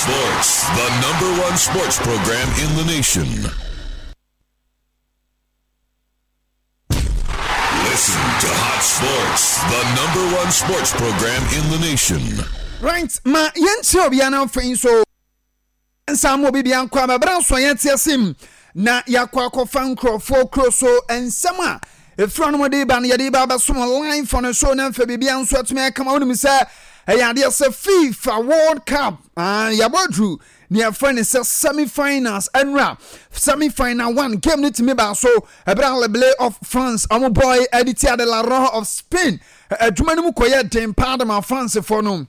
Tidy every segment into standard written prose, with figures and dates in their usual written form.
Sports, the number one sports program in the nation. Listen to Hot Sports, the number one sports program in the nation. Right, ma yɛnkyerɛ obiara na afei nso nsa ma obi bia nkɔ ama bere nso yɛn te ase mu na yɛakɔ akɔfa nkurɔfoɔ kuro so nsɛm a ɛfiri ɔnom de ba no yɛde ba abɛsom live on show na mfa biribia nso atumi akama. Wonim sɛ ɛyɛ adeɛ sɛ FIFA World Cup, ah, yɛabɔ aduru nea yɛfrɛ no sɛ semi finals. Ɛnura semi final one game no tumi baa so ɛberɛ a Les Bleus of France ɔmo boy ɛde tia de La Roja of Spain. Adwuma no mu kɔyɛ den paa de ma Francefoɔ no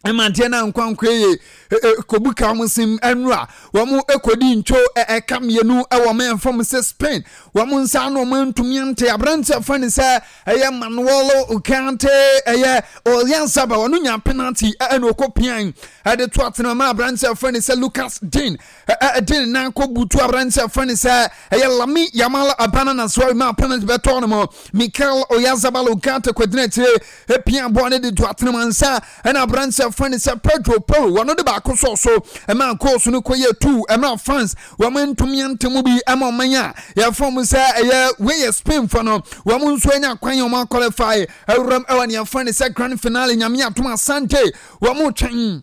mmeranteɛ no ankwankwa yie kɔbu ka wɔn sim. Ɛnura wɔn kɔdi ntwo ɛka mmienu wɔ wɔn mfam sɛ Spain wɔn nsa ano wɔn ntumi ante. Aberanteɛ fɛ ne sɛ ɛyɛ Manuel Ugarte, ɛyɛ Oyarzabal, ɔno nya penalty ɛna ɔkɔ pian ɛde to atena ma aberanteɛ fɛ ne sɛ Lucas Digne ɛde ne nan kɔ butu aberanteɛ fɛ ne sɛ ɛyɛ Lamine Yamal abana na so ma penalty bɛtɔ no mu. Mikel Oyarzabal Ugarte kɔgyina akyire epia bɔɔl no de to atena mu ansa ɛna aberanteɛ fɛ ne sɛ Pedro Porro wɔn de baako sɔɔ so ɛma goals no kɔyɛ two ɛma France wɔn ntumi ante mu bi. Ɛma ɔman a yɛfrɛ mu sɛ ɛyɛ wei Spain fo no, wɔn nso anya kwan yɛn wɔn qualify awuram ɛwɔ nea yɛfrɛ ne sɛ grand finale. Nyame atom asante wɔn twɛn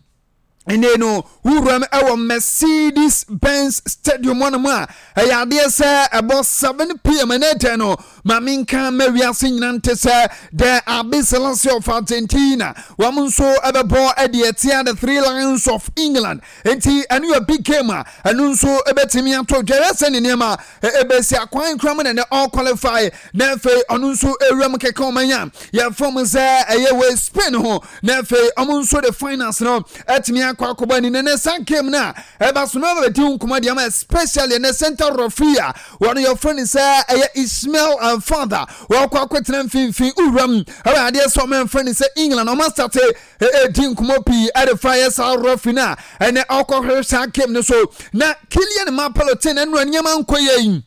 ɛnɛ no wuram ɛwɔ Mercedes Benz Stadium hɔnom a ɛyɛ adeɛ sɛ ɛbɔ 7 p.m. ɛnɛ dɛn no maame nka ma wiase nyina nte sɛ the Albiceleste of Argentina wɔn nso ɛbɛbɔ ɛde ɛtia the Three Lions of England. Nti ɛno yɛ big game a ɛno nso ɛbɛtumi ato dwɛrɛ sɛ ne nneɛma ɛbɛsi akwan kura mu na ɛnɛ ɔqualify na afei ɔno nso ewura mu kɛkɛ ɔman a yɛfrɛ mu sɛ ɛyɛ wɔ Spain ho na afei ɔmo nso de finals no ɛtumi akɔ akɔbɔ ani. Na ne sa game no a ɛba so no ɛbɛdi nkɔmɔ deɛ ama, especially ɛnɛ center referee a wɔn yɛfrɛ no sɛ ɛyɛ Ismail Alfada, wɔkɔ akɔtena mfimfini wuram. Ɛwɔ adeɛ sɛ ɔmo ɛmfrɛ no sɛ England ɔmo astart ɛdi nkɔmɔ pii ɛde fa yɛ saa referee no a ɛnɛ ɔkɔhwɛ saa game no so. Na Kylian Mbappe Lottin, ɛnura nneɛma nkɔ yɛ yi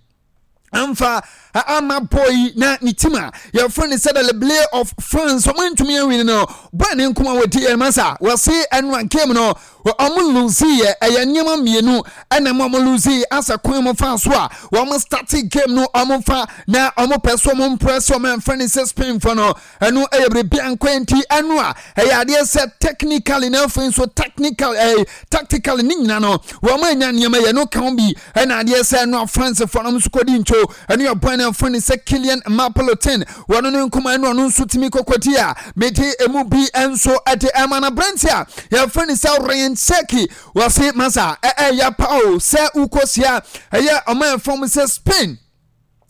amfa ama boy na ne team a yɛfrɛ no sɛ the Les Bleus of France ɔmo ntumi awin no. Boy ne nkɔmɔ a wɔdi yɛn masa wɔse ɛnura game no ɔmo lose yɛ, ɛyɛ nneɛma mmienu ɛna mo ɔmo lose asɛ kwan mo fa so a wɔn start game no, ɔmo fa na ɔmo pɛ so ɔmo mpress ɔmo ɛmfrɛ ne sɛ Spain fo no. Ɛno ɛyɛ biribi ankɔ nti ɛno a ɛyɛ adeɛ sɛ technically na afei nso technical tactically ne nyina no wɔn anya nneɛma yɛ no kan bi. Ɛna adeɛ sɛ ɛno a France fo no nso kɔdi nto. Ɛno yɛ bɔn na ɛfrɛ ne sɛ Kylian Mbappe Lottin, wɔn no nkɔmɔ ɛno ɔno nso tumi kɔkɔdi a mede emu bi nso ɛde ɛma. Na aberante a yɛfrɛ ne sɛ Rayan Cherki, wɔse masa ɛyɛ pa o sɛ wokɔsia ɛyɛ ɔman fam sɛ Spain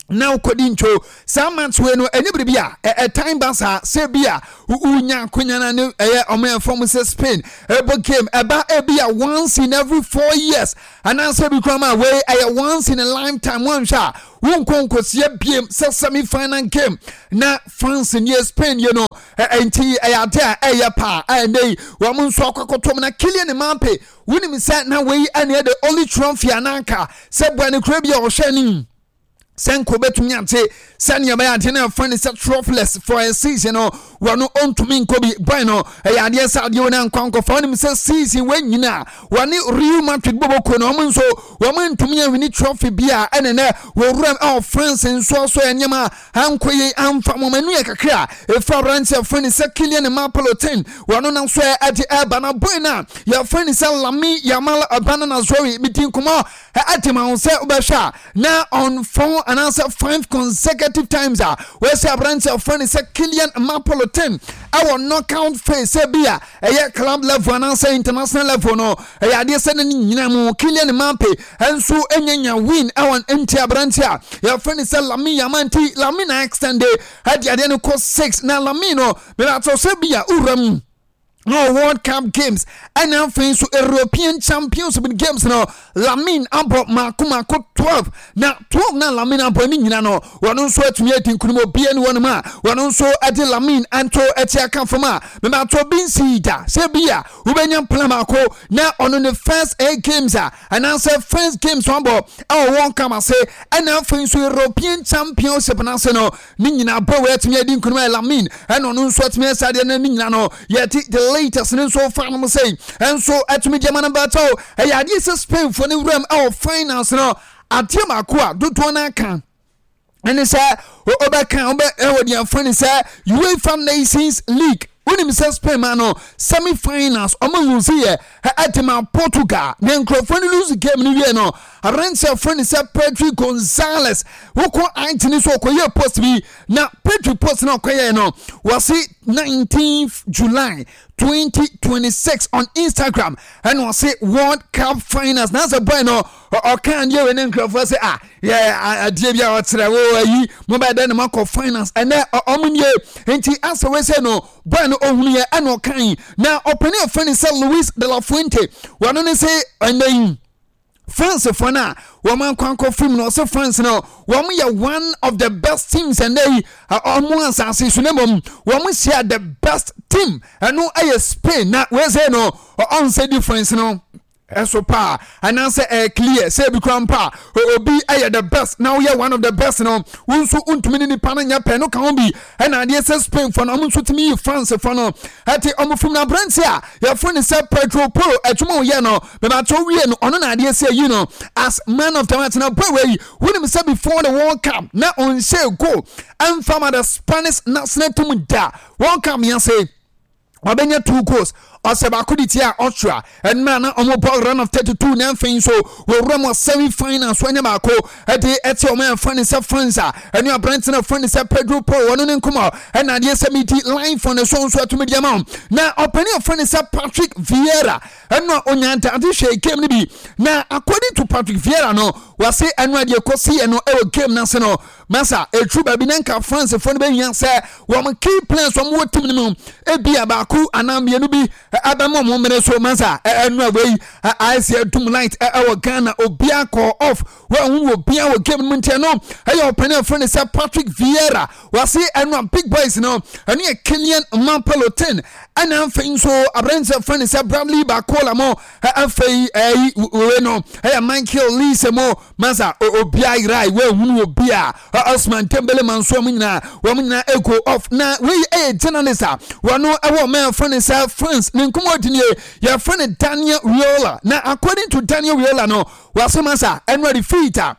na wokɔdi ntwo saa match wei no. Ɛnyɛ biribi a ɛtan ba saa sɛ bi a wonya akonya no ne ɛyɛ ɔmo ɛfam sɛ Spain ɛbɔ game ɛba ebi a once in every 4 years anaasɛ bi koraa ma wei ɛyɛ once in a lifetime. Wɔnhwɛ a wonkɔ nkɔsia biem sɛ semi final game na France nie Spain yɛ no. Ɛnti ɛyɛ ade a ɛyɛ paa a ɛnɛ yi wɔn nso akɔkɔtɔm. Na Kylian Mbappe, wonim sɛ na wei ɛne the only trophy ananka sɛ bua ne kura bi a ɔhwɛ anim sɛ nka obɛtumi ate sɛnea ɛbɛyɛ ade no ɛfa ne sɛ trophyless for a season no, wɔno ɔntumi nkɔ bi. Boy no ɛyɛ adeɛ sɛ adeɛ wɔn ankɔ ankɔfa. Wɔnim sɛ season wɔn nyinaa wɔne Real Madrid bɔbɔkuo no, wɔn nso wɔn ntumi awin trophy bi a ɛne nɛ wɔwuram ɛwɔ France nso so nneɛma ankɔ yie amfa wɔn anu yɛ kakra. Efa aberanteɛ fɛ ne sɛ Kylian Mbappe Lottin, wɔn nam so ɛde ɛba. Na boy no a yɛfrɛ ne sɛ Lamine Yamal Abana Nazori, medi nkɔmɔ ɛde ma wɔn sɛ wobɛhwɛ a na on four anaasɛ five consecutive times a wɔasi aberanteɛ ɔfrɛ ne sɛ Kylian Mbappe Lottin ɛwɔ knockout phase, sɛ bi a ɛyɛ club level anaasɛ international level no, ɛyɛ adeɛ sɛ ne nyina mu Kylian Mbappe nso nyanya win ɛwɔ. Nti aberanteɛ a yɛfrɛ ne sɛ Lamine Yamal, nti Lamine na extend ɛde adeɛ no kɔ six. Na Lamine no mebɛatɔ sɛ bi a wura mu no World Cup games ɛna afei nso European Champions League games no, Lamine abɔ mako mako. 12 na 12 na Lamine abɔ ne nyina no, wɔn nso atumi adi nkunim. Obia ni wɔnom a wɔn nso de Lamine anto akyi aka fam a mebatɔ bi nsii da sɛ bi a wobɛnya mpla baako na ɔno ne first eight games a anaasɛ first games wabɔ ɛwɔ World Cup ase, ɛna afei nso European Championship no ase no, ne nyinaa bɔ wei atumi adi nkunim ayɛ Lamine, ɛna ɔno nso atumi asa adeɛ no ne nyinaa no. Yɛte the latest ne nso fa nom sɛ ɛnso atumi gyama no bɛtɔ. Ɛyɛ adeɛ sɛ Spainfoɔ no wuram ɛwɔ finals no, adeɛ baako a dodoɔ no aka ɛne sɛ wobɛka wobɛ ɛwɔ deɛ mfa ne sɛ UEFA Nations League. Wonim sɛ Spain ma no semi finals ɔmo lose yɛ ɛde ma Portugal, na nkurɔfoɔ no lose game no wie no, aberanteɛ fo ne sɛ Pedri Gonzalez wokɔ IG ne so ɔkɔyɛ post bi, na Pedri post na ɔkɔyɛ no, wɔse 19th July 2026 on Instagram, ɛna ɔse World Cup finals na sɛ boy no ɔka adeɛ wei ne nkurɔfoɔ sɛ ah, yɛ adeɛ bi a ɔkyerɛ wo ayi mo bɛyɛ dɛ na moakɔ finals ɛnɛ ɔmo nie. Nti asɛ wei sɛ no boy no ɔhunu yɛ ɛna ɔkan na ɔpani ɔfɛ ne sɛ Luis de la Fuente, wɔno ne sɛ ɛnɛ yi France foɔ no a wɔn akɔ fam no, ɔsɛ France no wɔn yɛ one of the best teams ɛnɛ yi ɔmo asase so, na mmom wɔn hyia the best team, ɛno ɛyɛ Spain, na wei sɛ no ɔnsɛ difference no ɛso paa anaasɛ ɛyɛ clear sɛ ebi kura mpa a obi ɛyɛ the best na woyɛ one of the best no, wo nso ntumi ne nipa no nyɛ pɛ no ka ho bi. Ɛna adeɛ sɛ Spain fo no, ɔmo nso tumi yi France fo no ɛte ɔmo fam. Na aberante a yɛfrɛ no sɛ Pedro Porro, adwuma ɔyɛ no bɛbɛtɔ wie no, ɔno na adeɛ sɛ yi no as man of the match. Na boy wei, wonim sɛ before the World Cup na ɔnhyɛ goal ɛmfa ma the Spanish national team da. World Cup yɛn wabɛnya two goals, ɔsɛ baako de tia Austria ɛnna na wɔn bɔ round of 32, na afei nso wɔwura mu semi final so ɛnyɛ baako ɛde ɛte wɔn ɛfa ne sɛ France a ɛne aberante no ɛfa ne sɛ Pedro Porro, wɔn ne nkɔmɔ ɛna adeɛ sɛ mi di line for ne so nso ɛtumi di ama wɔn. Na ɔpanin ɛfa ne sɛ Patrick Vieira, ɛno a onya ntaade hwɛ game no bi, na according to Patrick Vieira no, wɔse ɛno adeɛ kɔsi yɛ no ɛwɔ game no ase no, masa ɛturu baabi na nka Francefoɔ no bɛhia sɛ wɔn key players wɔn wɔ team no mu ebi a baako anaa mmienu bi ɛbɛma wɔn mmere so. Masa ɛno a wei ayɛ sɛ ɛdum light ɛwɔ Ghana, obiara kɔ off, wɔn ho obiara wɔ game no mu. Ntiɛ no ɛyɛ ɔpanin afro ne sɛ Patrick Vieira, wɔase ɛno a big boys no ɛno yɛ Kylian Mbappe Lottin, ɛna afei nso aberanteɛ afro ne sɛ Bradley Barcola mo, afei ɛyi wei no ɛyɛ Michael Olise mo. Masa obiara yerae, wɔahunu obi a Osman Dembele manso, wɔn nyinaa wɔn nyinaa ego off. Na wei ɛyɛ journalist a wɔn ɛwɔ ɔman afro ne sɛ France ne nkɔmɔ di nie, yɛfrɛ no Daniel Riola. Na according to Daniel Riola no, wɔase masa ɛno a defeat a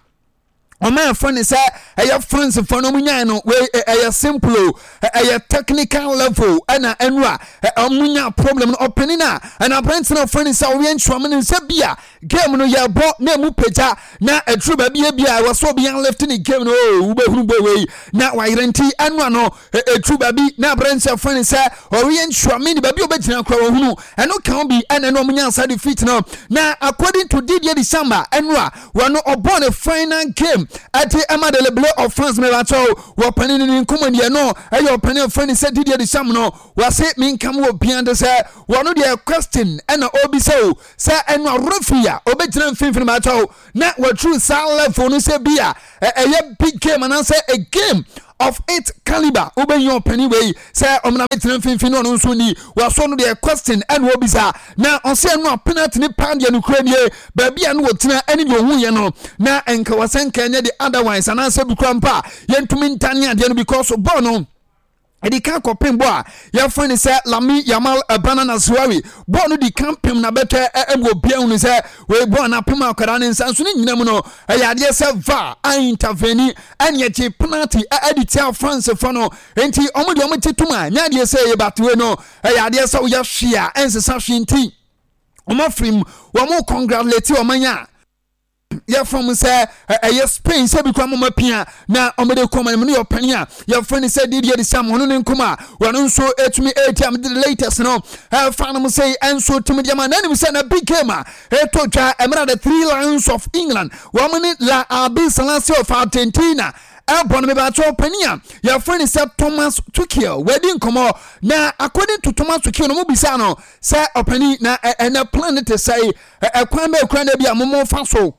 ɔman afro ne sɛ ɛyɛ France fo no ɔmo nyae no, wei ɛyɛ simple o, ɛyɛ technical level ɛna ɛno a ɔmo nya problem no. Ɔpanin a ɛna aberante no afro ne sɛ ɔyɛ nsuam ne nsa bi a game no yɛbɔ na emu pagya na ɛduru baabi ebi a ɛwɔ sɛ obi yan lift ne game no o, wobɛhunu bɔ wei na wayerɛ. Nti ɛno ano ɛduru baabi na aberante afro ne sɛ ɔyɛ nsuam ne baabi a ɔbɛgyina kora wɔhunu ɛno ka ho bi ɛna ɛno ɔmo nya nsa defeat no. Na according to Didier Deschamps, ɛno a wɔno ɔbɔ ne final game ɛde ɛma de Le of France, mɛbakyɛw wɔpani ne ne nkɔmmɔ nie no, ɛyɛ ɔpani afrɛ ne sɛ Didier Deschamps no, wɔase menkam wɔ bia de sɛ wɔno deɛ question ɛna ɔbisa o sɛ ɛno a referee a ɔbɛgyina mfimfini mɛbakyɛw na wɔaturu saa level no sɛ bi a ɛyɛ big game anaasɛ a game of its caliber, wobɛnya ɔpani wei sɛ ɔmena bɛtena mfimfini no, ɔno nso ni wɔasɔ no deɛ question ɛna ɔbisa. Na ɔsɛ ɛno a penalty ne paa deɛ nokora nie, baabi a no wɔgyina ɛne deɛ ɔhuyɛ no na nka wɔsɛ nka ɛnyɛ de otherwise anaasɛ bi kora mpa a yɛntumi ntane adeɛ no, because bɔɔl no ɛdi kan kɔpem bɔ a yɛfrɛ no sɛ Lami Yamal ɛbana na Zuari bɔɔl no di kan pem na bɛtɛ ɛmu, obiara hunu sɛ wei bɔɔl no apem akwadaa ne nsa nso. Ne nyina mu no ɛyɛ adeɛ sɛ VAR a intervene ɛne ɛgye penalty ɛde tia France fo no. Nti ɔmo deɛ ɔmo gye tom a nyɛ adeɛ sɛ ɛyɛ batewe no, ɛyɛ adeɛ sɛ woyɛ hwee a ɛnsesa hwee. Nti ɔmo afiri mu, wɔn congratulate ɔmo anya yɛfrɛ mu sɛ ɛyɛ Spain sɛ bi kora moma pia na ɔmode kɔma no mu no yɛ ɔpani a yɛfrɛ no sɛ Didier Deschamps, ɔno ne nkɔm a wɔno nso ɛtumi ɛti am de latest no ɛfa no mu sɛ ɛnso tumi deɛ ma na anim sɛ na big game a ɛtɔ dwa ɛmena the Three Lions of England wɔn ne La Albiceleste of Argentina ɛbɔ no, mebakyɛ ɔpani a yɛfrɛ no sɛ Thomas Tuchel wadi nkɔmmɔ. Na according to Thomas Tuchel no, mo bisa no sɛ ɔpani na ɛnɛ plan no te sɛ ɛkwan bɛɛ kura na bi a momo fa so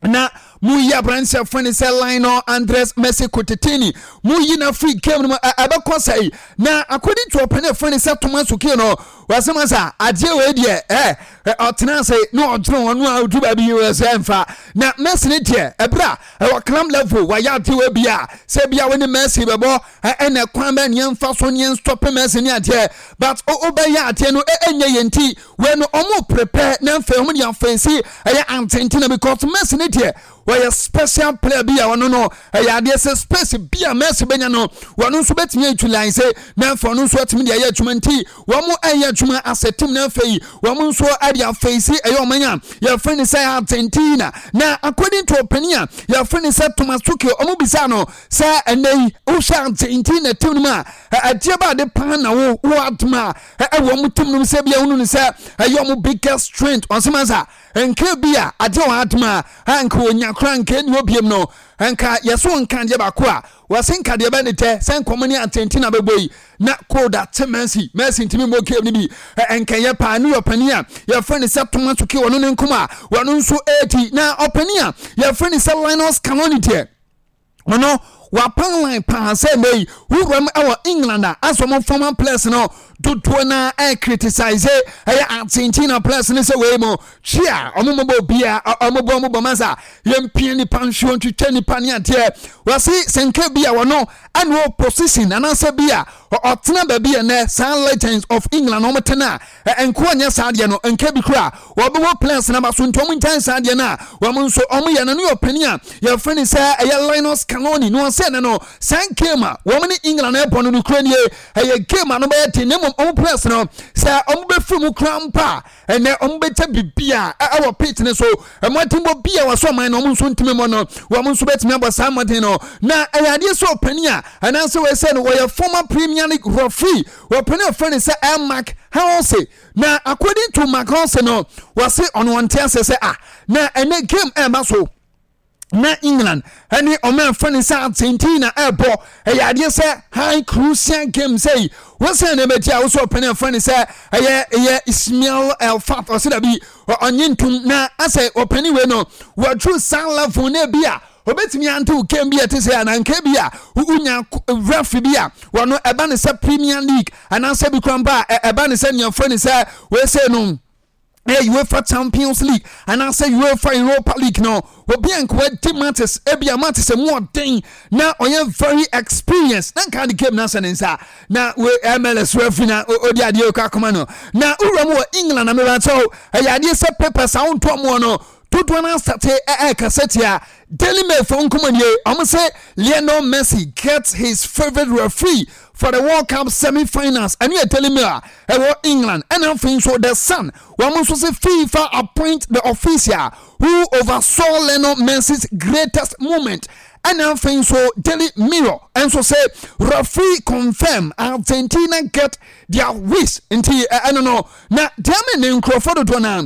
na Mo yi aberanteɛ fo ne sɛ Lionel Andres Messi Cuccittini, mo yi na free game no mu ɛbɛkɔ sɛe. Na according to ɔpɛne fo ne sɛ Thomas Tuchel no, wɔsɛ ma sa adeɛ wei deɛ ɛ ɔtena ase na ɔdwene ɔno a ɔdu baabi wɔ sɛ mfa na Messi ne deɛ ɛberɛ a ɛwɔ club level wɔayɛ adeɛ wei bi a sɛ bia wo ne Messi bɛbɔ ɛna kwan bɛ neɛ mfa so neɛ nstɔpe Messi ne adeɛ, but wobɛyɛ adeɛ no ɛnyɛ yɛ nti wei no ɔmo prepare na mfei ɔmo de afɛnsi ɛyɛ Argentina, because Messi ne deɛ wɔyɛ special player bi a ɔno no ɛyɛ adeɛ sɛ space bi a Messi bɛnya no, wɔn nso bɛtumi utilize na afei ɔno nso atumi de ayɛ adwuma. Nti wɔn ɛyɛ adwuma asɛ team na afei wɔn nso ɛde afɛnsi ɛyɛ ɔman a yɛfrɛ no sɛ Argentina. Na according to ɔpanin a yɛfrɛ no sɛ Thomas Tuchel, ɔmo bisa no sɛ ɛnɛ yi wohwɛ Argentina team no mu a, ɛdeɛ ba ade paa na wo adoma a ɛwɔ ɔmo team no mu sɛ bia wonu no sɛ ɛyɛ ɔmo biggest strength? Ɔnsɛm asa nka bi a adeɛ wɔ adoma a nka onya koraa nka ɛni obiem no, nka yɛso nka adeɛ baako a wɔse nka deɛ bɛ ne tɛ sɛ nkɔmɔ ne Argentina bɛbɔ yi na cold ate Messi, Messi ntumi mmɔ game no bi, nkɛyɛ paa ne ɔpanin a yɛfrɛ no sɛ Thomas Tuchel ɔno ne nkɔmɔ a wɔno nso ɛredi. Na ɔpanin a yɛfrɛ no sɛ Lionel Scaloni deɛ, ɔno wapan line paa sɛ nnɛ yi wuram wɔ England a asɛ ɔmo former players no dodoɔ na ɛ criticize ɛyɛ Argentina players no sɛ wei mo twi a ɔmo mɔbɔ obia ɔmo bɔ ɔmo bɔ masa yɛmpia nipa nhwɛ ntwitwa nipa ne adeɛ. Wɔse sɛ nka bi a wɔno ɛna wɔ position anaasɛ bi a ɔtena baabi ɛnɛ saa legends of England ɔmo tena a nkoa nyɛ saa adeɛ no, nka bi kora wɔbɛwɔ players no aba so. Nti ɔmo nkyɛn saa adeɛ no a wɔn nso ɔmo yɛ no ne ɔpanin a yɛfrɛ no sɛ ɛyɛ Lionel Scaloni no, ɔsɛ ne no saa game a wɔn ne England ɛbɔ no kura nie, ɛyɛ game a no bɛyɛ den, na mmom ɔmo players no sɛ ɔmo bɛfiri mu kora mpa a ɛnɛ ɔmo bɛkyɛ biribi a ɛwɔ pitch ne so, mmɔdenbɔ bi a wɔsɔ ɔman no ɔmo nso ntumi mmɔ no, wɔn nso bɛtumi abɔ saa mmɔden no. Na ɛyɛ adeɛ sɛ ɔpanin a anaasɛ wɔsɛ no wɔyɛ former Premier League referee, wɔpanin a wɔfrɛ no sɛ Mark Halsey. Na according to Mark Halsey no, wɔse ɔno ɔnte ase sɛ ah, na ɛnɛ game ɛɛba so na England ɛne ɔmo ɛfɛ ne sɛ Argentina ɛbɔ, ɛyɛ adeɛ sɛ high crucial game sɛ yi wɔsɛn na ɛbɛti a wosɛ ɔpɛne ɛfɛ ne sɛ ɛyɛ Ismail El Fat, ɔsɛ dabi ɔnye ntum na asɛ ɔpɛne wei no wɔduru saa level na ebi a obetumi ante game bi a ɛte sɛ ananka bi a wonya referee bi a wɔno ɛba ne sɛ Premier League anaasɛ bi kora mpa a ɛba ne sɛ nneɛmfo ne sɛ wɔsɛ no ɛyɛ UEFA Champions League anaasɛ UEFA Europa League no, obi a nka wadi matches ebi a matches mu ɔden na ɔyɛ very experienced na nka de game na asɛ ne nsa na we MLS referee na odi adeɛ kɔ akoma no. Na wura mu wɔ England na mebɛkyɛw ɛyɛ adeɛ sɛ papers a wontɔ mu no dodoɔ no asate ɛɛkasa tia Daily Mail fo nkɔmɔ nie. Ɔmo sɛ Lionel Messi gets his favourite referee for the World Cup semi-finals. Ɛno yɛ Daily Mail a ɛwɔ England. Ɛna afei nso The Sun, wɔn nso sɛ FIFA appoint the official who oversaw Lionel Messi's greatest moment. Ɛna afei nso Daily Mirror nso sɛ referee confirm Argentina get their wish. Nti ɛno no na deɛ me ne nkurɔfoɔ dodoɔ naa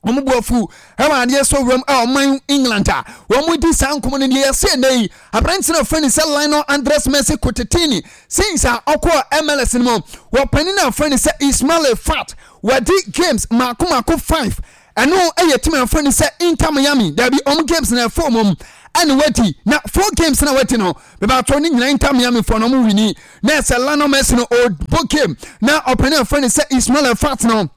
wɔn bu afu ɛwɔ adeɛ sɛ wuram a ɔman England a wɔn di saa nkɔmɔ no deɛ, yɛsɛ ɛnɛ yi aberante no afrɛ ne sɛ Lionel Andres Messi Cuccittini, since a ɔkɔɔ MLS no mu, wɔpanin no afrɛ ne sɛ Ismail Fat, wɔadi games mako mako 5. Ɛno ɛyɛ team a afrɛ ne sɛ Inter Miami dabi wɔn games na ɛfɔ wɔn ɛna wadi na 4 games na wadi no bɛbɛatɔ ne nyinaa Inter Miami fɔ no wɔn wini. Na ɛsɛ Lionel Messi no ɔbɔ game na ɔpanin afrɛ ne sɛ Ismail Fat no,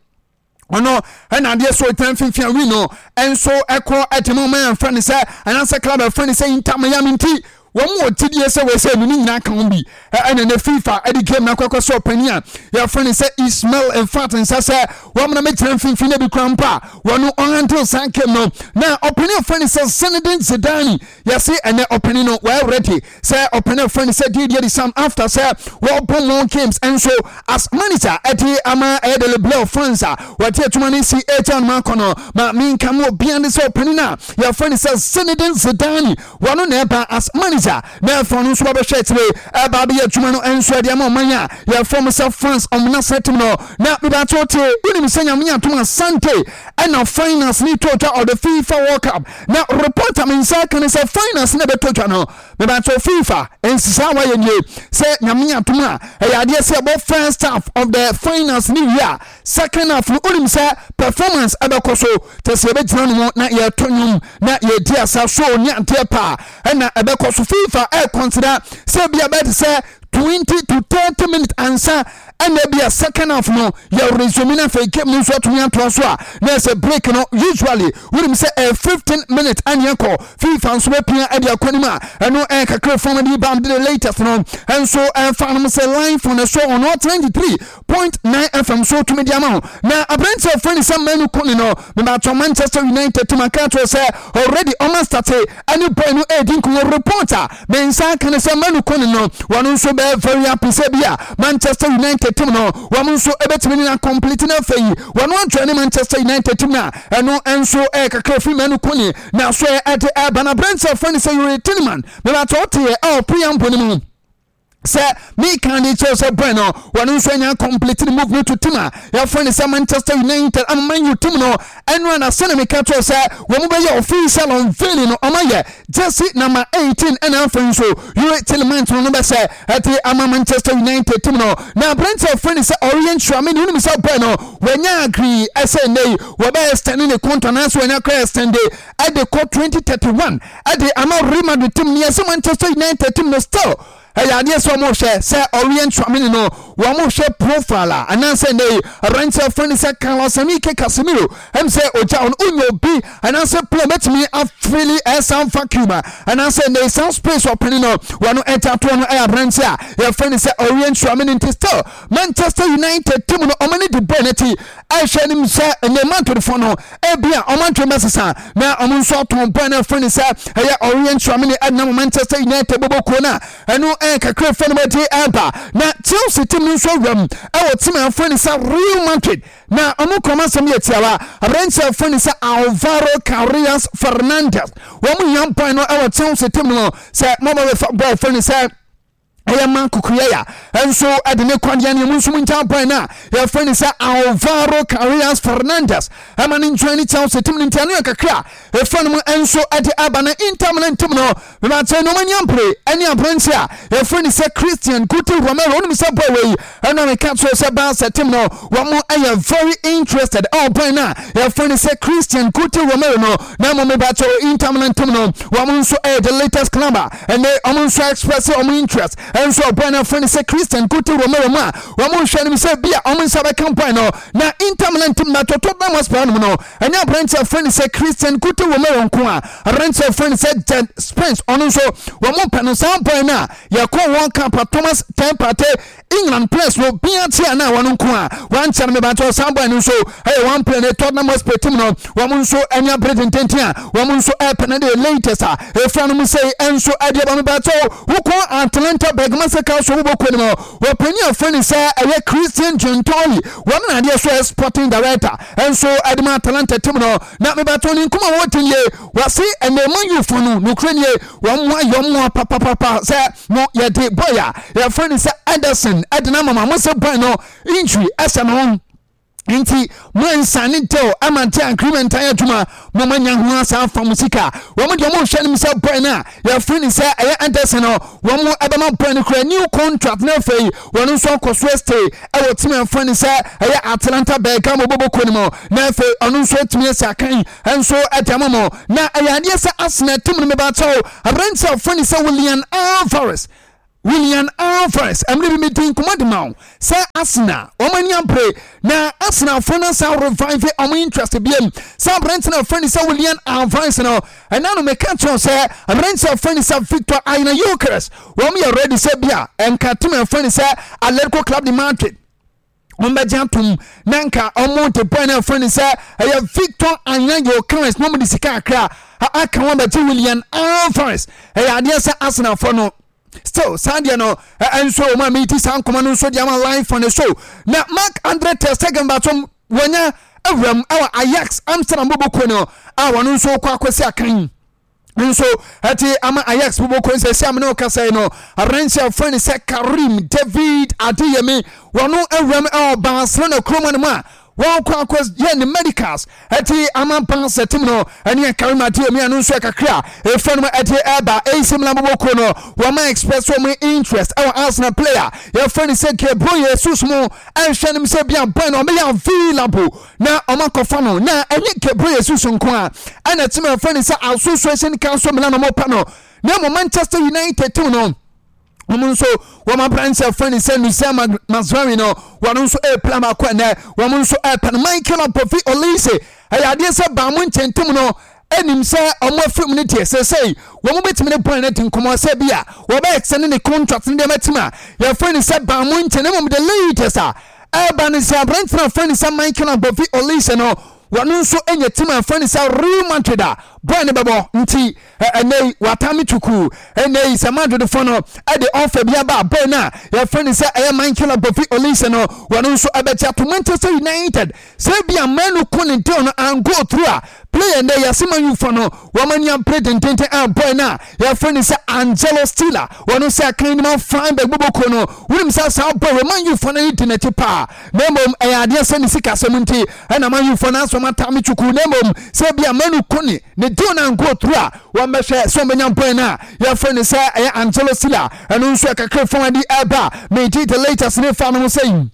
ɔno ɛna adeɛ so ɔgyina mfimfini awi no nso ɛkɔ ɛde mu ɔman ɛfrɛ ne sɛ anaasɛ club ɛfrɛ ne sɛ Inter Miami. Nti wɔn wɔ gyidie sɛ wɔsɛ ɛnu ne nyinaa ka ho bi ɛna ne FIFA ɛde game no akɔkɔ sɛ ɔpanin a yɛfrɛ ne sɛ Ismail Mfat nsa sɛ wɔn na mɛgyina mfimfini na bi kura mpa a wɔn ɔhandle saa game no. Na ɔpanin a yɛfrɛ ne sɛ Zinedine Zidane, yɛse ɛnɛ ɔpanin no wɔyɛ ready sɛ ɔpanin a yɛfrɛ ne sɛ Didier Deschamps, after sɛ wɔbɔ more games nso as manager ɛde ama ɛyɛ de Le Bleu France a wɔde adwuma no si agya no akɔ no, ma menka mu obia ne sɛ ɔpanin a yɛfrɛ ne sɛ Zinedine Zidane, wɔno na ɛba as manager na ɛfɔ no nso wɔbɛhwɛ akyire ɛba abɛyɛ adwuma no nso ɛde ama ɔman a yɛfrɛ mo sɛ France ɔmo national team no. Na mebato te wonim sɛ Nyame atom asante ɛna finals ne to twa of the FIFA World Cup, na report a me nsa ka ne sɛ finals na ɛbɛtɔ twa no, mebato FIFA Nhyehyɛe a wɔayɛ nie, sɛ Nyame adom a, ɛyɛ adeɛ sɛ yɛbɔ first half of the finals no wie a, second half no wonim sɛ performance ɛbɛkɔ so, kyɛ sɛ yɛbɛgyina no mu na yɛto nnwom na yɛdi asa, show ne adeɛ paa ɛna ɛbɛkɔ so. FIFA ɛreconsider sɛ ebi a bɛyɛ te sɛ 20 to 30 minutes ansa ɛna ebi a second half no yɛ resume na afei game no nso atumi atoa so a, na ɛsɛ break no usually wonim sɛ ɛyɛ 15 minutes ɛne ɛkɔ. FIFA nso bɛpia ɛde akɔ anim a ɛno ɛyɛ kakra fam de ba de the latest no ɛnso ɛfa nom sɛ line phone so on 93.9 FM so tumi de ama ho. Na aberante a ɔfrɛ ne sɛ Manu Kone no, mebatɔ Manchester United team aka akyerɛ sɛ already ɔma starte ɛne boy no ɛredi nkɔmmɔ. Report a me nsa aka ne sɛ Manu Kone no wɔn nso bɛyɛ very happy sɛ bi a Manchester United team no wɔn nso ɛbɛtumi ne na complete no. Afei wɔn adjoin ne Manchester United team no a ɛno nso ɛyɛ kakra firi Manu Kone na so ɛde ɛba. Na aberante a ɔfrɛ ne sɛ Youri Tielemans, mebatɔ woteɛ ɛwɔ preamble no mu sɛ meka de kyerɛ sɛ bɔn no wɔn nso anya complete ne move no to team a yɛfrɛ no sɛ Manchester United ama Man U team no. Ɛno a na sɛne meka kyerɛ sɛ wɔn bɛyɛ official unveiling no, ɔma yɛ jersey number 18 ɛna afei nso Youri Tielemans no bɛsɛ ɛde ama Manchester United team no. Na aberante a wɔfrɛ no sɛ Aurelien Tchouameni, wonim sɛ bɔn no wɔanya agree ɛsɛ nnɛ yi wɔbɛyɛ extend ne contract anaasɛ wɔanya kora extend ɛde kɔ 2031 ɛde ama Real Madrid team no. Yɛsɛ Manchester United team no still ɛyɛ adeɛ sɛ wɔn hwɛ sɛ Aurelien Tchouameni no, wɔn hwɛ profile a anaasɛ nnɛ yi aberanteɛ fɛn sɛ Carlos Enrique Casemiro ɛm sɛ ogya ɔno onya obi anaasɛ player bɛtumi afili ɛsan vacuum a anaasɛ nnɛ yi some space ɔpɛni no wɔn ɛgya toɔ no ɛyɛ aberanteɛ a yɛfrɛ no sɛ Aurelien Tchouameni. Nti still Manchester United team no wɔn ani di bɔɔl n'akyi ɛhwɛ anim sɛ ɛnɛ Madridfoɔ no ebi a wɔn adwene bɛsesa na wɔn nso atɔn bɔɔl no afiri ne sɛ ɛyɛ Aurelien Tchouameni ɛnam Manchester United bɔbɔ kuo no a ɛno ɛyɛ kakra fɛ no bɛgye ɛba. Na Chelsea team no nso awuram ɛwɔ team a afiri ne sɛ Real Madrid na wɔn kɔn asɛm yɛ tiawa. Aberanteɛ afiri ne sɛ Alvaro Carreras Fernandez, wɔn hia bɔɔl no ɛwɔ Chelsea team no sɛ mɔmɔ bɛfa bɔɔl afiri ne sɛ ɛyɛ ma Cucurella nso de ne kwadeɛ ne emu nso mu nkyɛn bɔn no a yɛfrɛ no sɛ Alvaro Carreras Fernandez ɛma ne nkyɛn ne Chelsea tim no. Nti ɛno yɛ kakra a ɛfrɛ no mu nso de aba. Na Inter Milan tim no, mebakyɛ nneɛma ni ampere ɛne aberante a yɛfrɛ no sɛ Christian Cuti Romero. Wonim sɛ bɔɔ wei ɛna meka kyerɛ sɛ Barca tim no wɔn ɛyɛ very interested ɛwɔ bɔn no a yɛfrɛ no sɛ Christian Cuti Romero no. Na mmom mebakyɛ Inter Milan tim no wɔn nso ɛyɛ the latest club a ɛnɛ wɔn nso express wɔn interest ɛnso ɔbɔn no afrɛ no sɛ Christian Cuti Romero mu a wɔn nhwɛ no sɛ bi a wɔn nsa bɛka bɔn no. Na Inter Milan team na Tottenham Hotspur no no ɛnyɛ aberante afrɛ no sɛ Christian Cuti Romero nko a, aberante afrɛ no sɛ Jed Spence ɔno nso wɔn pɛ no. Saa bɔn no a yɛkɔ wɔn camp Thomas Partey England players no bia te a na wɔn nko a wankyɛ no mebakyɛ saa boy no nso ɛyɛ one player ne Tottenham Hotspur team no wɔn nso ɛne abere tententen a wɔn nso ɛpɛ no de latest a efra no mu sɛ ɛnso ɛde ɛba. Mebakyɛ wokɔ Atlanta Bergamo Calcio wobɔ kuo no mu wɔpanyin afrɛ ne sɛ ɛyɛ Christian Giuntoli, wɔn na adeɛ so ɛyɛ sporting director ɛnso ɛde ma Atalanta team no. Na mebakyɛ ne nkuma wɔn ti nie, wɔse ɛnɛ Man U fo no nokura nie wɔn mo ayɛ wɔn papapapa sɛ mo yɛde boy a yɛfrɛ no sɛ Ederson ɛde no ama mo sɛ boy no injury ɛsɛ no nti mo nsane deal ama nti agreement ayɛ adwuma mo ma nya ho asa afa mo sika. Wɔn deɛ wɔn hwɛ no sɛ boy no a yɛfrɛ no sɛ ɛyɛ Ederson no wɔn ɛbɛma boy no kura new contract na afei wɔn nso akɔ so stay ɛwɔ team a yɛfrɛ no sɛ ɛyɛ Atalanta Bergamo bɔbɔ kuo no mu na afei ɔno nso atumi asi akan nso ɛde ama mo. Na ɛyɛ adeɛ sɛ Arsenal team no mebakyɛw aberante a wɔfrɛ no sɛ Julian Alvarez, Julian Alvarez, ɛmere bi medi nkɔmmɔ de ma wo sɛ Arsenal wɔn ani abere na Arsenalfoɔ no asan revive wɔn interest biam sɛ aberante no a wɔfrɛ no sɛ Julian Alvarez no. Ɛna no meka kyerɛ sɛ aberante a wɔfrɛ no sɛ Victor Aina Gyökeres wɔn yɛ ready sɛ bi a ɛnka team a wɔfrɛ no sɛ Atletico Club de Madrid wɔn bɛgye atom na nka wɔn de bɔɔl no afrɛ no sɛ ɛyɛ Victor Aina Gyökeres na wɔn de sika akra aka wɔn bɛgye Julian Alvarez. Ɛyɛ adeɛ sɛ Arsenalfoɔ no still saa deɛ no nso wɔn a meti saa nkɔmɔ no nso de ama live on the show. Na Marc Andre ter Stegen batom wɔnya awuram ɛwɔ Ajax Amsterdam bɔbɔ kuo no a wɔn nso kɔ akɔsi akan nso ɛte ama Ajax bɔbɔ kuo nsɛ si amene ɔkasa yi no aberanteɛ a wɔfrɛ no sɛ Karim David Adeyemi wɔn awuram ɛwɔ Barcelona kurom no mu a. Wɔkɔ akɔ yɛ ne medicals ɛte ama Barca team no ɛne Karim Adeyemi ɛno nso ɛkakra ɛfɛ no ɛde ɛba. AC Milan bɔbɔ kuo no wɔma express wɔn interest ɛwɔ Arsenal player yɛfrɛ no sɛ Gabriel Jesus mu, ɛnhwɛ no sɛ bia boy no ɔbɛyɛ available na ɔma kɔfa no. Na ɛnyɛ Gabriel Jesus nko a ɛna team ɛfrɛ no sɛ Association Council Milan ɔmo pɛ no, na mmom Manchester United team no wɔn nso wɔn aberanteɛ fɛn ne sɛ Nusir Mazraoui no, wɔn nso ɛrepla baako ɛnɛ wɔn nso ɛrepɛ no. Michael Apofi Olise, ɛyɛ adeɛ sɛ baamu nkyɛntum no ɛnim sɛ ɔmo afiri mu no deɛ, sɛsɛi wɔn bɛtumi ne bɔn no adi nkɔmɔ sɛ bi a wɔbɛyɛ sɛ ne contract no deɛ mɛtim a yɛfrɛ ne sɛ baamu nkyɛn. Mmom the latest a ɛreba ne sɛ aberanteɛ a fɛn ne sɛ Michael Apofi Olise no, wɔn nso anya team a fɛn ne sɛ Real Madrid a bɔn no bɛbɔ. Nti ɛnɛ yi watame tukuu. Ɛnɛ yi sɛ Madridfoɔ no ɛde ɔfa bi aba bɔɔl no a yɛfrɛ no sɛ ɛyɛ Michael Agbofi Olise no, wɔn nso ɛbɛgye ato. Manchester United sɛ bi a Manu ko ne deal no and go through a player ndɛ yɛse Man U foɔ no wɔn ani abere dendenden a bɔɔl no a yɛfrɛ no sɛ Angelo Stiller, wɔn nso ɛkan no ma Freiburg bobɔkuo no. Wonim sɛ saa bɔɔl wɔ Man U foɔ no ani di n'akyi paa, na mmom ɛyɛ adeɛ sɛ ne sikasɛm nti ɛna Man U foɔ no asɔm atame tukuu, na mmom sɛ bi a Manu ko ne ne deal no ankɔ through a, wɔmmɛhwɛ sɛ wɔbɛnya bɔn no a yɛfrɛ no sɛ ɛyɛ Angelo Stiller. Ɛno nso ɛkakra fam adi ɛba megye the latest ne fa no ho sɛ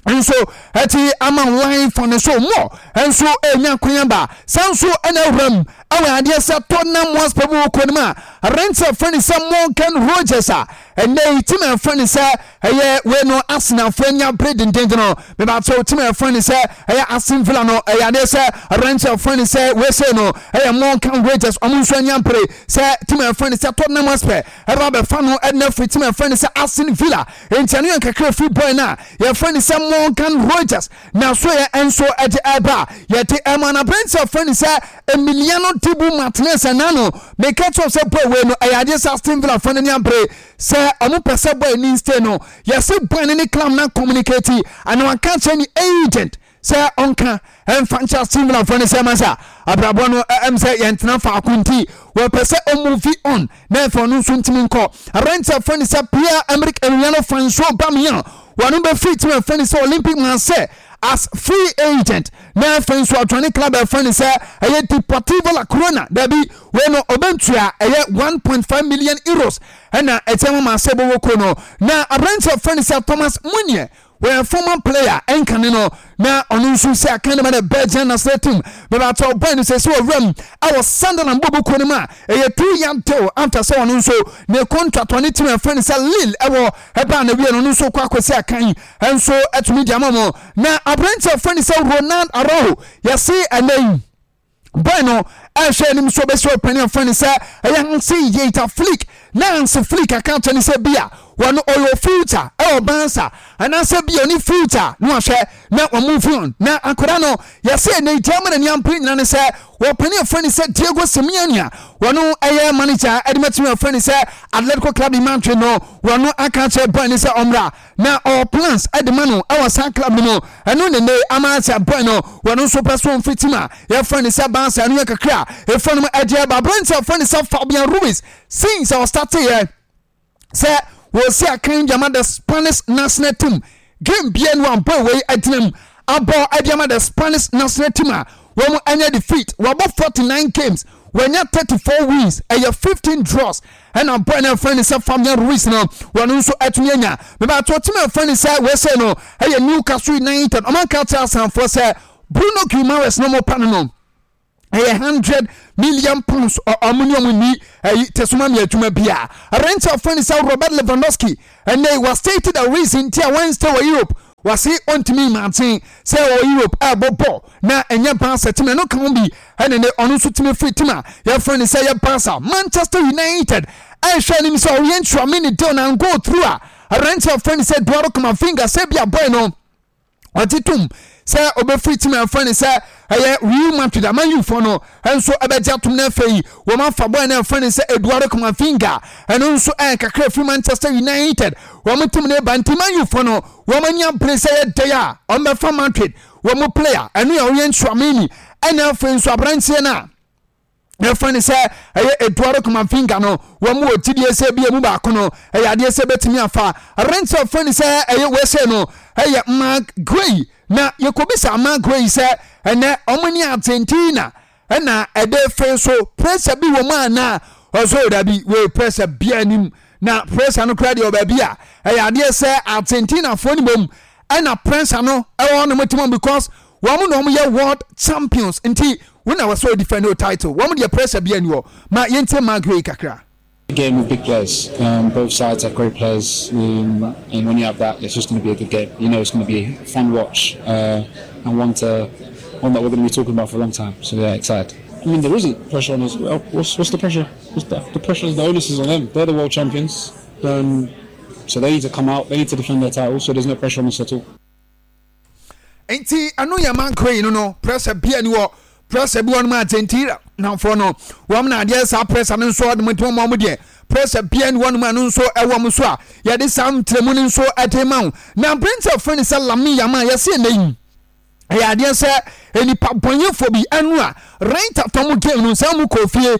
nso ɛte ama line fa no so mmɔ nso ɛnya kwan aba saa nso ɛna awuram ɛwɔ adeɛ sɛ Tottenham Hotspur mu wɔ no mu a aberanteɛ frɛ no sɛ Morgan Rogers a ɛnɛ yi team a ɛfrɛ no sɛ ɛyɛ wei no Arsenalfoɔ anya bere dendenden no. Mebakyɛw, team a ɛfrɛ no sɛ ɛyɛ Aston Villa no, ɛyɛ adeɛ sɛ aberanteɛ a ɛfrɛ no sɛ wei sei no ɛyɛ Morgan Rogers, ɔmo nso anya bere sɛ team a ɛfrɛ no sɛ Tottenham Hotspur ɛba bɛfa no ɛna firi team a ɛfrɛ no sɛ Aston Villa. Nti ɛno yɛ nkakra firi boy no a yɛfrɛ no sɛ Morgan Rogers na so yɛ nso ɛde ɛba yɛde ɛma no. Aberanteɛ a ɛfrɛ no sɛ Emiliano Dibu Martinez, ɛna no meka kyerɛ sɛ boy wei no ɛyɛ adeɛ sɛ Aston Villa fo no ani abere sɛ ɔmo pɛ sɛ boy ni stay no. Yɛse boy no ne club na communicate ana waka kyerɛ ne agent sɛ ɔnka ɛmfa nkyɛ Aston Villa fo no sɛ masa abrabɔ no ɛm sɛ yɛntena faako, nti wɔpɛ sɛ ɔmove on na ɛfɛ ɔno nso ntumi nkɔ. Aberanteɛ fo no sɛ Pierre Emerick Emiliano Francois Aubameyang, wɔn bɛfiri team ɛfɛ no sɛ Olympic Marseille as free agent na afei nso ɔtɔne club ɛfɛ no sɛ ɛyɛ Deportivo La Corona. Dabi, wei no ɔbɛntua ɛyɛ €1.5 million ɛna ɛkyɛ ma Marseille bɔwɔ kuo no. Na aberanteɛ fɛ no sɛ Thomas Meunier, wɔyɛ former player ɛnkane no na ɔno nso sɛ akan no ma no Belgian national team. Bɛbɛatɔ ɔbɔn no sɛ sɛ ɔwuram ɛwɔ Sunderland bɔbɔ kuo no mu a ɛyɛ 2 year deal after sɛ ɔno nso ne contract ɔne team ɛfɛ no sɛ Lille ɛwɔ ɛbaa na wie no, ɔno nso kɔ akɔsi akan ɛnso ɛtumi di ama mo. Na aberanteɛ fɛ no sɛ Ronald Araujo, yɛse ɛnɛ yi boy no ɛhwɛ anim so bɛsi ɔpanin afɔ ne sɛ ɛyɛ Hansi Dieter Flick, na Hansi Flick aka akyerɛ ne sɛ bi a wɔn ɔyɛ future ɛwɔ Barca anaasɛ bi a ɔne future na wahwɛ na wɔn move on. Na akwadaa no yɛsɛ ɛnɛ Germany ni ampere nyina ne sɛ wɔpanin afɔ ne sɛ Diego Simeone a wɔn ɛyɛ manager ɛde mɛtumi afɔ ne sɛ Atletico Club de Madrid no, wɔn aka akyerɛ boy ne sɛ ɔmmra na ɔwɔ plans de ma no wɔ saa club no mu. Ɛno ne ne ama sɛ boy no wɔn nso pɛ so mfiri team a yɛfrɛ no sɛ Barca. Ɛno yɛ kakra a ɛfɔ no mu ɛde ɛba. Aberante a yɛfrɛ no sɛ Fabian Ruiz, since a ɔstarteeɛ sɛ wɔsi akan de ama the Spanish national team, game bia no a boy wei agyina mu abɔ ɛde ama the Spanish national team a wɔn anya defeat. Wɔabɔ 49 games, wɔanya 34 wins, ɛyɛ 15 draws, ɛna boy no ɛfrɛ no sɛ Fabian Ruiz no, wɔn nso atumi anya. Mebato team ɛfrɛ no sɛ wɔsɛ no ɛyɛ Newcastle United, ɔman ka kyerɛ asanfoɔ sɛ Bruno Guimaraes no mo pa no ɛyɛ £100 million, ɔmo ne ɔmo ni ɛyi tɛsoma mi adwuma bi a. Aberanteɛ afrɛ no sɛ Robert Lewandowski, ɛnɛ wa state the reason nti a wɔn stay wɔ Europe. Wase ɔntumi imagine sɛ ɔwɔ Europe ɛbɔ bɔ na ɛnyɛ Barca team. Ɛno ka ho bi ɛne ne ɔno nso tumi firi team a yɛfrɛ no sɛ yɛ Barca. Manchester United ɛhwɛ anim sɛ ɔyɛ Tchouameni deal na go through a, aberanteɛ afrɛ no sɛ Eduardo Camavinga, sɛ bi a boy no ɔgye tom sɛ ɔbɛfiri team a ɛfrɛ no sɛ ɛyɛ Real Madrid a, Man U foɔ no nso ɛbɛgye atom no. Afei wɔn afa boy no ɛfrɛ no sɛ Eduardo Camavinga, ɛno nso ɛyɛ kakra firi Manchester United wɔn team no ba. Nti Man U foɔ no wɔn ani abere sɛ yɛ dɛ a wɔn bɛfa Madrid wɔn player, ɛno yɛ Aurelien Tchouameni, ɛna afei nso aberanteɛ no a yɛfrɛ no sɛ ɛyɛ Eduardo Camavinga no, wɔn wɔ gyidie sɛ bi emu baako no ɛyɛ adeɛ sɛ bɛtumi afa. Aberanteɛ a wɔfrɛ no sɛ ɛyɛ wɛsɛ no ɛyɛ Marc Guehi. Na yɛkɔbisa Mark wei sɛ ɛnɛ wɔn ne Argentina ɛna ɛde fee so pressure bi wɔ mu anaa? Ɔsɛ dabi, wei pressure biara nim. Na pressure no koraa deɛ wɔ baabi a ɛyɛ adeɛ sɛ Argentinafoɔ no mmom ɛna pressure no ɛwɔ wɔn tim because wɔn na wɔn yɛ world champions nti wɔn na wɔsɛ defend o title wɔn deɛ pressure biara ni hɔ. Ma yɛntie Mark wei kakra. Game with big players. Both sides have great players, and when you have that, it's just going to be a good game. You know, it's going to be a fun watch and one to one that we're going to be talking about for a long time. So yeah, excited. I mean, there isn't pressure on us. Well, what's the pressure? What's the pressure? The onus is on them. They're the world champions, so they need to come out. They need to defend their title. So there's no pressure on us at all. Nti ɛno yɛ mankɔ yi no no pressure bia ni wɔ pressure bi wɔn Argentina namfoɔ no wɔn na adeɛ saa pressure no nso ɔde mo nti wɔn deɛ pressure bia ni wɔn ano nso ɛwɔ mo so a yɛde saa nkyerɛmu no nso ɛde ma wo na aberanteɛ fɛn ne sɛ Lamine Yamal yɛsi ɛnɛ yi ɛyɛ adeɛ sɛ nipa bɔnyɛfoɔ bi ɛno a right after mo game no sɛ mo kɔ fie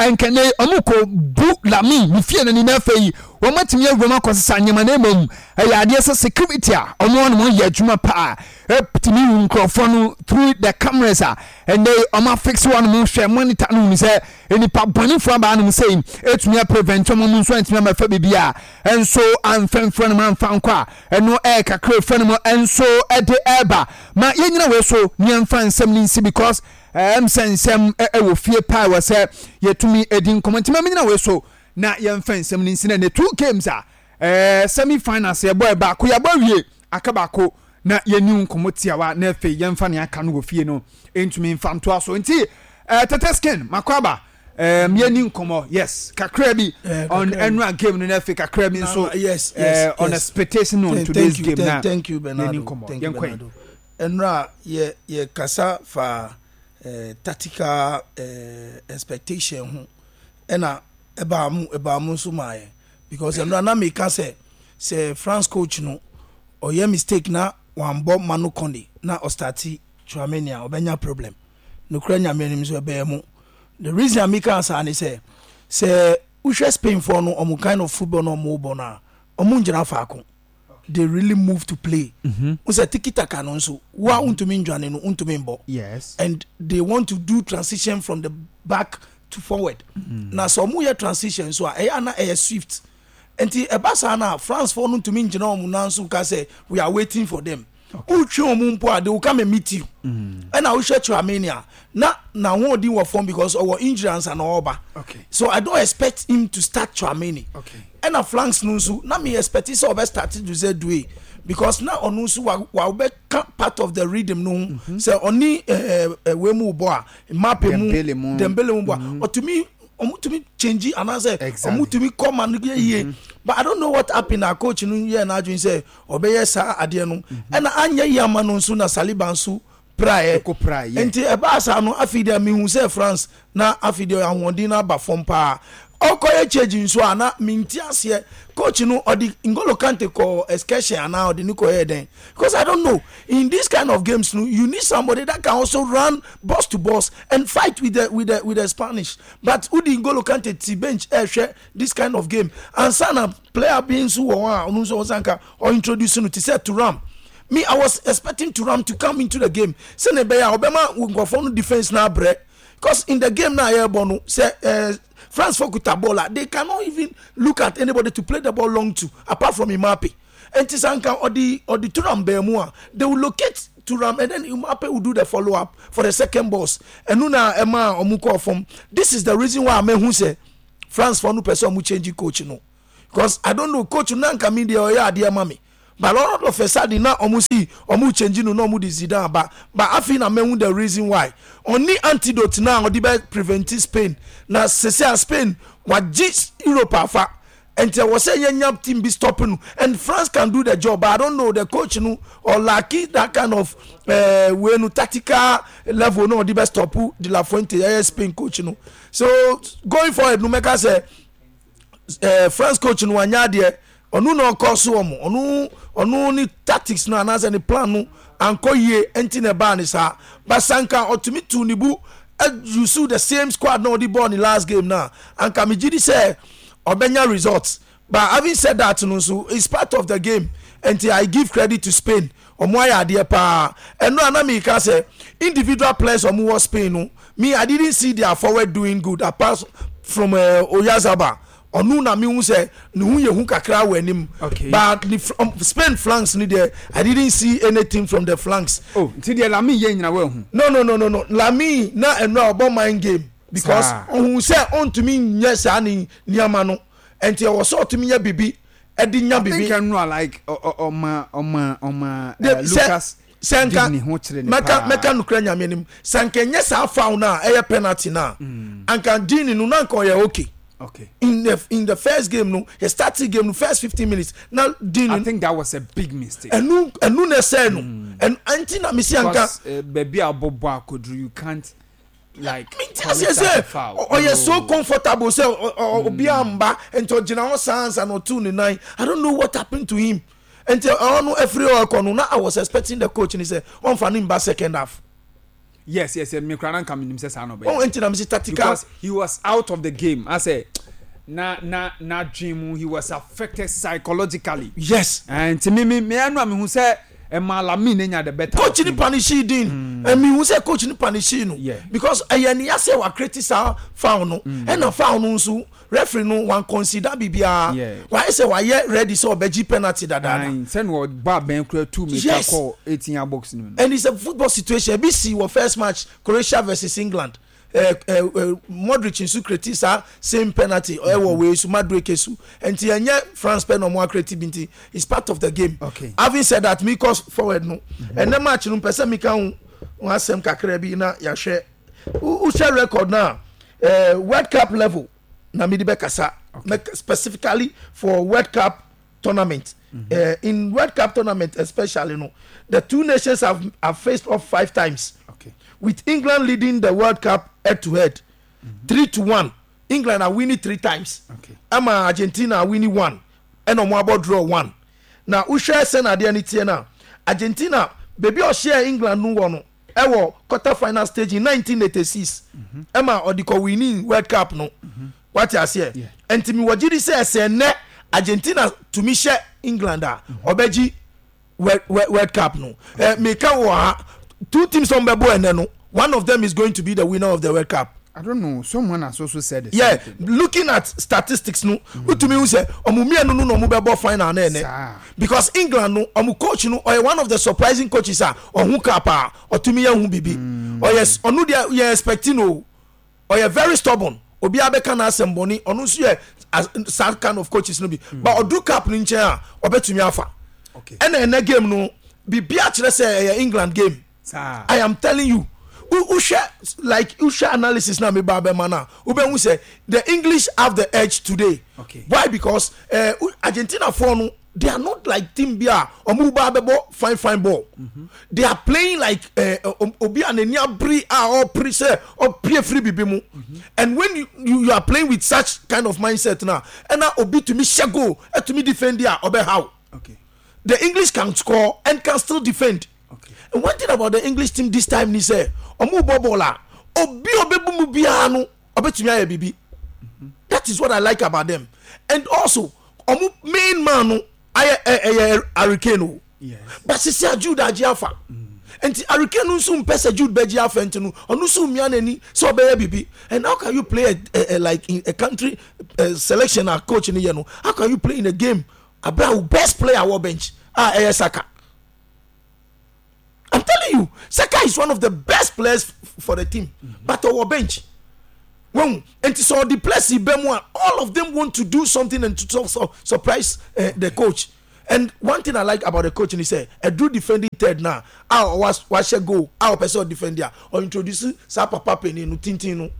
Ɛnkɛnɛ wɔn kɔ bu Lamine ne fie no ni na afei wɔn atumi awura mu akɔsesa nneɛma na mmom ɛyɛ adeɛ sɛ security a wɔn wɔn wɔn yɛ adwuma paa ɛtumi hu nkurɔfoɔ no through the cameras a ɛnɛ wɔn afix wɔn mo hwɛ monitor no hu sɛ nipa bɔnefoɔ abaa nom sɛ ɛtumi aprevent wɔn nso antumi amɛfa biribi a ɛnso amfɛmfrɛ no amfa nkɔ a ɛno ɛyɛ kakra efrɛ no mu ɛnso ɛde ɛɛba ma yɛnyina wei so ne yɛmfa nsɛm no nsi because Ɛm sɛ nsɛm wɔ fie paa ɛwɔ sɛ yɛtumi di nkɔmmɔ nti ma menyina wei so na yɛmfa nsɛm no nsi na ne two games a ɛɛ semi finals yɛbɔ baako yɛabɔ awie aka baako na yɛni nkɔmmɔ tiawa na afei yɛmfa nea aka no wɔ fie no ntumi mfa ntoa so nti ɛɛ tete skin makɔ aba ɛɛm yɛni nkɔmmɔ yes kakra bi on ɛnura game no na afei kakra bi nso yes yes on expectation on today's game na thank you Bernardo yɛni nkɔmmɔ yɛnkɔ yi. Ɛnora yɛ yɛ kasa fa eh, tactical eh, expectation ho ɛna ɛbaa mu ɛbaa mu nso maa yɛn because ɛnora na meka sɛ sɛ France coach no ɔyɛ mistake na wambɔ Manu Kone na ɔstarte Tchouameni a ɔbɛnya problem. Nokorɛ Nyame anim nso ɛbɛyɛ mo. The reason a meka saa ne sɛ sɛ wohwɛ Spain foɔ no ɔmo kind of football na ɔmo bɔ no a ɔmo ngyina faako. they really move to play. N sɛ tiki taka no nso wo a wontumi ndwane no wontumi mbɔ. Yes. And they want to do transition from the back to forward. Na sɛ ɔmo yɛ transition nso a ɛyɛ ana ɛyɛ swift. Nti ɛba saa na France foɔ no ntumi ngyina ɔmo nan so nka sɛ we are waiting for them. Wotwe ɔmo mpo a they will come and meet you. Ɛna wohwɛ Tchouameni a na n'ahoɔden wɔ fam because ɔwɔ injury ansa na ɔreba. Okay. So I don't expect him to start Tchouameni. Okay. Ɛna flanks no nso na me expect sɛ ɔbɛ start Jose Due because na ɔno nso wa wa bɛka part of the rhythm no ho sɛ ɔne ɛɛ ɛɛ wei mu bɔ a Mbappe mu Dembele mu. Dembele mu bɔ a ɔtumi ɔmo tumi change anaasɛ Exactly. ɔmo tumi kɔ ma no yɛ yie but I don't know what happen na coach no yɛ n'adwene sɛ ɔbɛyɛ saa adeɛ no ɛna anyɛ yie ama no nso na Saliba nso praeɛ Ɛkɔ praeɛ. Nti ɛbaa saa no afei deɛ mehu sɛ France na afei deɛ ahoɔden no aba fam paa. Ɔkɔyɛ change nso a na mente aseɛ coach no ɔde N'Golo Kante kɔɔ excursion anaa ɔde no kɔyɛɛ dɛn because I don't know in this kind of games no you need somebody that can also run box to box and fight with the with the with the Spanish but wode N'Golo Kante te bench ɛrehwɛ this kind of game ansa na player bi nso wɔ hɔ a ɔno nso ɔsanka ɔintroduce no te sɛ Thuram me I was expecting Thuram to come into the game sɛnea ɛbɛyɛ a ɔbɛma nkurɔfoɔ no defense no abrɛ because in the game na yɛrebɔ no sɛ eh, France fo kuta ball a they cannot even look at anybody to play the ball long to apart from Mbappe nti sɛ anka ɔde ɔde Thuram bɛn mu a they will locate Thuram and then Mbappe will do the follow up for the second balls ɛno na ɛma ɔmo kɔɔ fam this is the reason why amehu sɛ France fo no pɛ sɛ ɔmo change coach no because I don't know coach no na nka mi deɛ ɔyɛ adeɛ ma me but all of a sudden na ɔmo si ɔmo change no na ɔmo de Zidane aba but afei na mehu the reason why ɔni antidote na ɔde bɛ prevent Spain na sese a Spain wagye Europe afa nti ɛwɔ sɛ yɛnya team bi stop no and France can do the job but I don't know the coach no or lacking that kind of uh, way no tactical level no ɔde bɛ stop De La Fuente ɛyɛ Spain coach no so going forward no mɛka sɛ eh, France coach no wanya adeɛ ɔno na ɔkɔ so wɔn ɔno ɔno ne tactics no anaasɛ ne plan no ankɔ yie nti na ɛbaa ne saa but sanka ɔtumi tu ne bu use the same squad na ɔde bɔɔ ne last game na anka megye di sɛ ɔbɛnya results but having said that no nso it's part of the game nti I give credit to Spain. Ɔmo ayɛ adeɛ paa. Ɛno a na meka sɛ individual players ɔmo wɔ Spain no, me I didn't see their forward doing good apart from uh, Oyarzabal. Ɔno na mehu sɛ ne ho yɛ hu kakra wɔ anim. Okay. But ne um, Spain flanks ni deɛ I didn't see anything from the flanks. Oh, nti deɛ Lamine yɛ nyina wahu. No no no no no Lamine na ɛno a ɔbɔ mind game because ɔhu sɛ ɔntumi nyɛ saa ne nneɛma no nti ɛwɔ sɛ ɔtumi yɛ bibi ɛde nya bibi. I think ɛno a like ɔma ɔma ɔma Lucas sɛ nka ne ho kyerɛ ne mɛka mɛka nukura nyame anim sɛ nka nyɛ saa foul na ɛyɛ penalty na mm. anka Dini no na nka ɔyɛ okay. Okay. In the first game no, he started game no first 15 minutes. Now Dini. I think that was a big mistake. Enu enu na ɛsɛ no. Ɛnu ɛnti na mesi anka. Because uh, baby abobo akoduru you can't like mente aseɛ sɛ ɔyɛ so comfortable sɛ obiara mba nti ɔgyina hɔ saa ansa na ɔtu ne nan i don't know what happened to him nti ɔno no afiri hɔ ɛkɔ no na i was expecting the coach ni sɛ ɔnfa ne mba second half. Yes yes me kura na nka menim sɛ saa na ɔbɛyɛ. Oh nti na mesi tactical. Because he was out of the game asɛ na na na dwen mu he was affected psychologically. Yes. Nti me me me ɛnu a mehu sɛ. Ɛmaa Lamine nya the better Coach ni punishii Dean. Mm. Ɛmi hu sɛ coach ni punishii no. Yeah. Because ɛyɛ ni asɛ wa create saa foul no. Ɛna foul no nso referee no wan consider biribiara. Yeah. Wayɛ sɛ wayɛ ready sɛ ɔbɛgye penalty dadaada. Ayi sɛ na ɔba abɛn kura tu mirika Yes. kɔ 18 yard box no mu. And it's a football situation. Ebi si wɔ first match Croatia versus England. Eh, eh, eh, Modric nso create saa same penalty ɛwɔ wei so Madueke so. Nti ɛnyɛ France pɛ na ɔmo acreate bi nti it's part of the game. Okay. Having said that, me cause forward no. Ɛnɛ match no mpɛ sɛ meka ho ho asɛm kakra bi na yɛahwɛ. Wohwɛ record na eh, World Cup level na mede bɛkasa. Okay. Specifically for World Cup tournament. Mm -hmm. In World Cup tournament especially no, the two nations have faced off 5 times. Okay. With England leading the World Cup head to head, 3-1. England are winning 3 times. Okay. Ama Argentina are winning 1. And ɔmo abɔ draw 1. Na wohwɛ sɛ na adeɛ no teɛ no a, Argentina baabi a ɔhyɛɛ England no wɔ no ɛwɔ quarter final stage in 1986 ɛma ɔde kɔ winning World Cup no. Wate aseɛ? Nti mewɔ gyidi sɛ sɛ nnɛ Argentina tumi hyɛ England a ɔbɛgye World Cup no. Eh, meka wɔ ha two teams a wɔbɛbɔ ɛnɛ no one of them is going to be the winner of the World Cup. I don't know. Someone has also said the Yeah, same thing. looking at statistics no, wotumi hu sɛ ɔmo mmienu no na ɔmo bɛbɔ final na ɛnɛ. Saa. Because England no, ɔmo coach no ɔyɛ one of the surprising coaches a ɔho cup a ɔtumi yɛ ho bibi. Ɔyɛ ɔno deɛ yɛ expecting o. Ɔyɛ very stubborn. Obiara bɛka n'asɛm bɔne. Ɔno nso yɛ saa kind of coaches no bi. But ɔdu cup no nkyɛn a ɔbɛtumi afa. Okay. Ɛna ɛnɛ game no biribiara kyerɛ sɛ ɛyɛ England game. Saa. I am telling you. Wohwɛ like wohwɛ analysis na meba abɛma no a wobɛhu sɛ the English have the edge today. Okay. Why? Because Argentina foɔ no they are not like team bi a ɔmo ba abɛbɔ fine fine ball. They are playing like obi a n'ani abere a ɔpere sɛ ɔpie firi bibi mu. And when you are playing with such kind of mindset na ɛna obi tumi hyɛ goal ɛtumi defend a ɔbɛhaw. Okay. The English can score and can still defend. Okay. And one thing about the English team this time ni sɛ ɔmo bɔ ball a obi a ɔbɛbu mu biara no ɔbɛtumi ayɛ biribi. That is what I like about them. And also ɔmo main man no ayɛ ɛyɛ Harry Kane o. Yes. But sisi a Jude agye afa. Nti Harry Kane no nso mpɛ sɛ Jude bɛgye afa nti no ɔno nso mmea n'ani sɛ ɔbɛyɛ biribi. And how can you play a like in a country selection a coach ni yɛ no? How can you play in a game abira wo best player wɔ bench a ɛyɛ Saka? I'm telling you, Saka is one of the best players for the team, but ɔwɔ bench. When and so the players yi bɛ mu a, all of them want to do something and to surprise the coach. And one thing I like about the coach is sɛ ɛduru defending third na a wahyɛ goal a ɔpɛ sɛ ɔdefend a ɔintroduce saa papa panin no tintin no,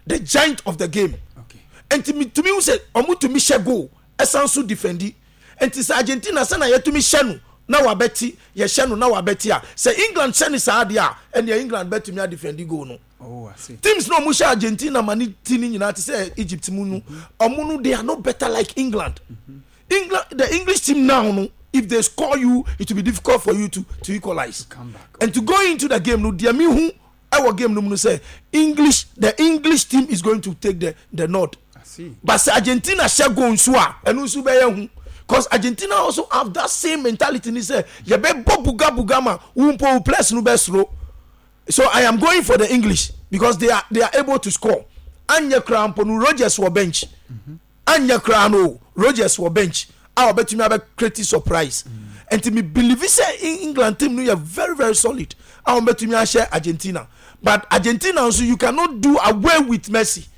the giant of the game. Okay. Nti mi tumi hu sɛ ɔmo tumi hyɛ goal ɛsan so defendi. Nti sɛ Argentina sɛ na yɛtumi hyɛ no na wabɛti yɛhyɛ no na wabɛti a sɛ England hyɛ ne saa adeɛ a ɛnneɛ England bɛtumi adefendi goal no. Oh, I see. Teams na ɔmo hyɛ Argentina ma ne ti ne nyinaa te sɛ Egypt mu no ɔmo no they are no better like England. England the English team now no if they score you it will be difficult for you to equalize. To come back. And to go into the game no deɛ mi hu ɛwɔ game no mu no sɛ English the English team is going to take the nod. I see. But sɛ Argentina hyɛ goal nso a ɛno nso bɛyɛ hu. Cause Argentina also have that same mentality ni sɛ yɛbɛ bɔ buga buga ma wo mpo wo players no bɛ soro. So I am going for the English because they are they are able to score. Anyɛ koraa mpo no Rogers wɔ bench. Anyɛ koraa no Rogers wɔ bench a ɔbɛtumi abɛ create surprise. Nti me believe sɛ England team no yɛ very very solid a wɔn bɛtumi ahyɛ Argentina. But Argentina nso you cannot do away with Messi.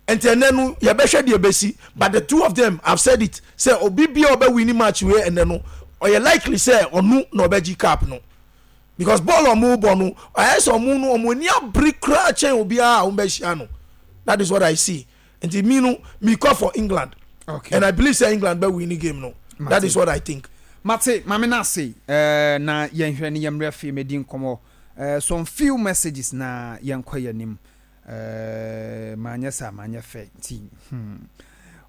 Nti ɛnɛ no yɛbɛhwɛ deɛ ɛbɛsi but the two of them have said it sɛ obi bia ɔbɛ win match wei ɛnɛ no ɔyɛ likely sɛ ɔno na ɔbɛgye cup no because bɔɔl a ɔmo bɔ no ayɛ sɛ ɔmo no ɔmo ani abere koraa kyɛn obiara a ɔmo bɛhyia no that is what I see nti mi no mi kɔ for England okay. and I believe sɛ England bɛ win game no Mate. that is what I think. Mate maame na ase eh, na yɛnhwɛ ne yɛmmerɛ afei mɛdi nkɔmmɔ eh, some few messages na yɛnkɔ yɛn anim. Eh, manyɛ saa, manyɛ fɛ nti. Hmm.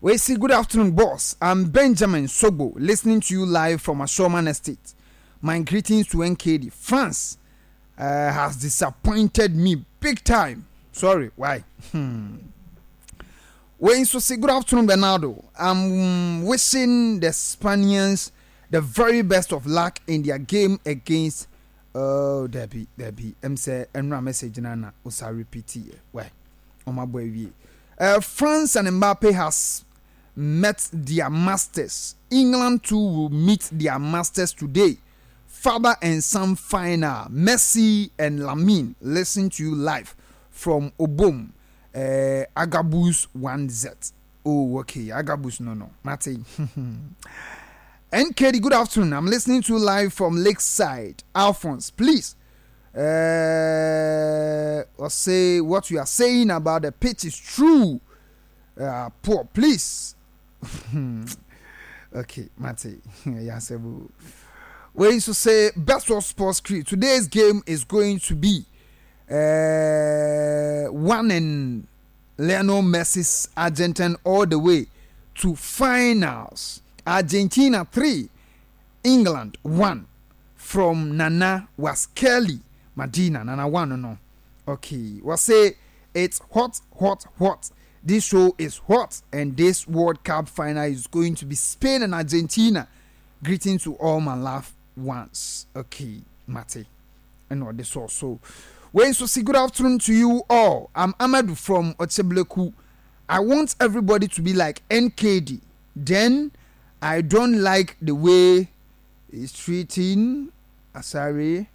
Wei si good afternoon boss. I'm Benjamin Sogbo listening to you live from Ashoman Estate. My greetings to NKD. France uh, has disappointed me big time. Sorry, why? Hmm. Wei nso si good afternoon Bernardo. I'm wishing the Spaniards the very best of luck in their game against Oh dabi dabi ɛm sɛ ɛnora message no na wosa repeat yɛ wai wɔn abɔ awie uh, France and Mbappe has met their masters England too will meet their masters today father and son final Messi and Lamine listen to you live from Obom uh, Agabus 1Z Oh, okay. Agabus, no, no. Mate. NKD, good afternoon. I'm listening to you live from Lakeside. Alphonse, please. Uh, or say what you are saying about the pitch is true. Uh, poor, please. okay, Mate. Yasebu. We used to say best of sports crew. Today's game is going to be uh, one and Lionel Messi's Argentine all the way to finals. Argentina 3, England 1. From Nana Waskelly Madina. Nana 1 no. Okay. We say it's hot, hot, hot. This show is hot, and this World Cup final is going to be Spain and Argentina. Greetings to all my loved ones. Okay, Mate. And all this also. Wei nso si good afternoon to you all. I'm Amadu from Otebleku. I want everybody to be like NKD. Then I don't like the way he's treating Asare.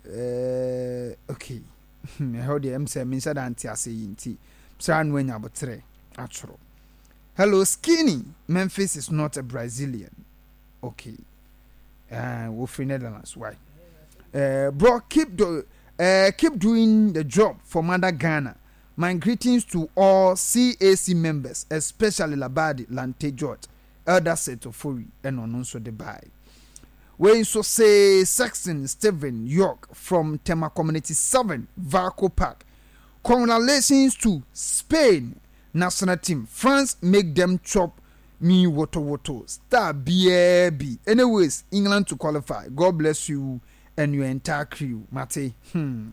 Uh, okay. Ɛhɔ deɛ ɛm sɛ menhyɛ da nte ase yi nti saa no anya aboterɛ atwerɛ. Hello skinny Memphis is not a Brazilian. Okay. Uh, wofiri Netherlands why? Uh, bro keep do, uh, keep doing the job for mother Ghana. My greetings to all CAC members, especially Labadi Lante George, Elder Setofori, and ɔno nso de bae. Wei nso say Sexton Stephen York from Tema Community 7, Varco Park. Congratulations to Spain national team. France make them chop me woto woto star biaa bi anyways England to qualify God bless you and your entire crew mate hmm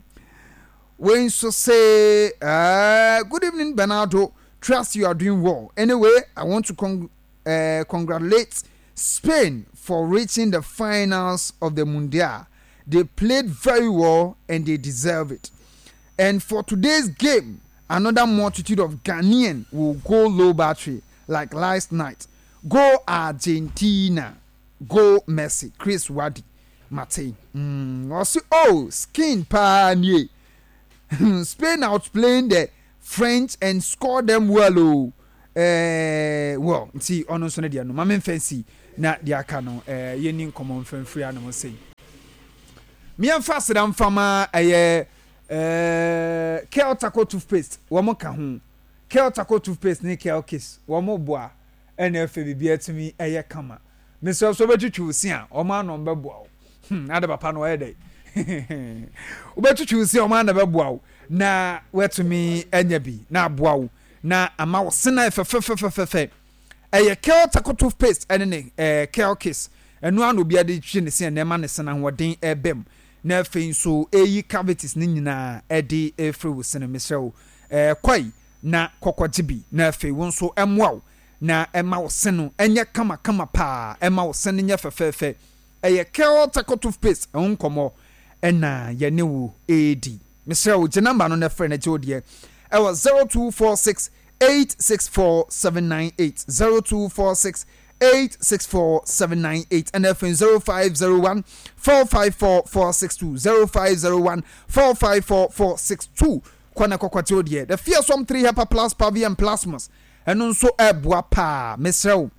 wei nso se uh, good evening Bernardo trust you are doing well anyway I want to con uh, congratulate Spain for reaching the finals of the Mundial they played very well and they deserve it and for today's game another multitude of Ghanaian will go low battery like last night go Argentina go Messi Chris Wadi mate mm, ɔse oh skin paa nie Spain outplaying the French and score them well oh eh, well nti ɔno nso no deɛ no ma memfa nsi na deɛ aka no eh, yɛni nkɔmmɔ mfa mfiri anom sei meɛmfa aseda mfa ma ɛyɛ eh, Kel Taco toothpaste wɔn ka ho Kel Taco toothpaste ne Kel Kiss wɔn boa ɛna ɛfɛ biribi atumi ɛyɛ kama. Mesrɛ wo sɛ wobɛtwitwi wo se a wɔn ano bɛboa wo. Hmm, ade papa no ɔyɛ dɛ. Wobɛtwitwi wo se a wɔn ano bɛboa wo na woatumi anya bi na aboa wo na ama wo se no ayɛ fɛfɛfɛfɛfɛ. Ɛyɛ Kel Taco toothpaste ɛne ne ɛɛ Kel Kiss. Ɛno ara na obiara de twitwi ne se a na ɛma ne se no ahoɔden ɛba mu. Na afei nso ɛyi cavities no nyinaa ɛde ɛfiri wo se no. Mesrɛ wo ɛɛ kɔe na kɔkɔgye bi na afei wo nso ɛmmoa wo. na ɛma wo se no nyɛ kamakama paa, ɛma wo se no nyɛ fɛfɛɛfɛ. Ɛyɛ Kel Charcoal Toothpaste ho nkɔmmɔ na yɛne wo redi. Mesrɛ wo, gye namba no na frɛ na gye wo deɛ ɛwɔ 0246 864 798, 0246 864 798, ɛna afei 0501 454 462, 0501 454 462. Kɔ na kɔkɔgye wo deɛ. The Fearsome 3 Hepa Plus Pavi and Plasmus, ɛno nso ɛboa paa. Mesrɛ wo,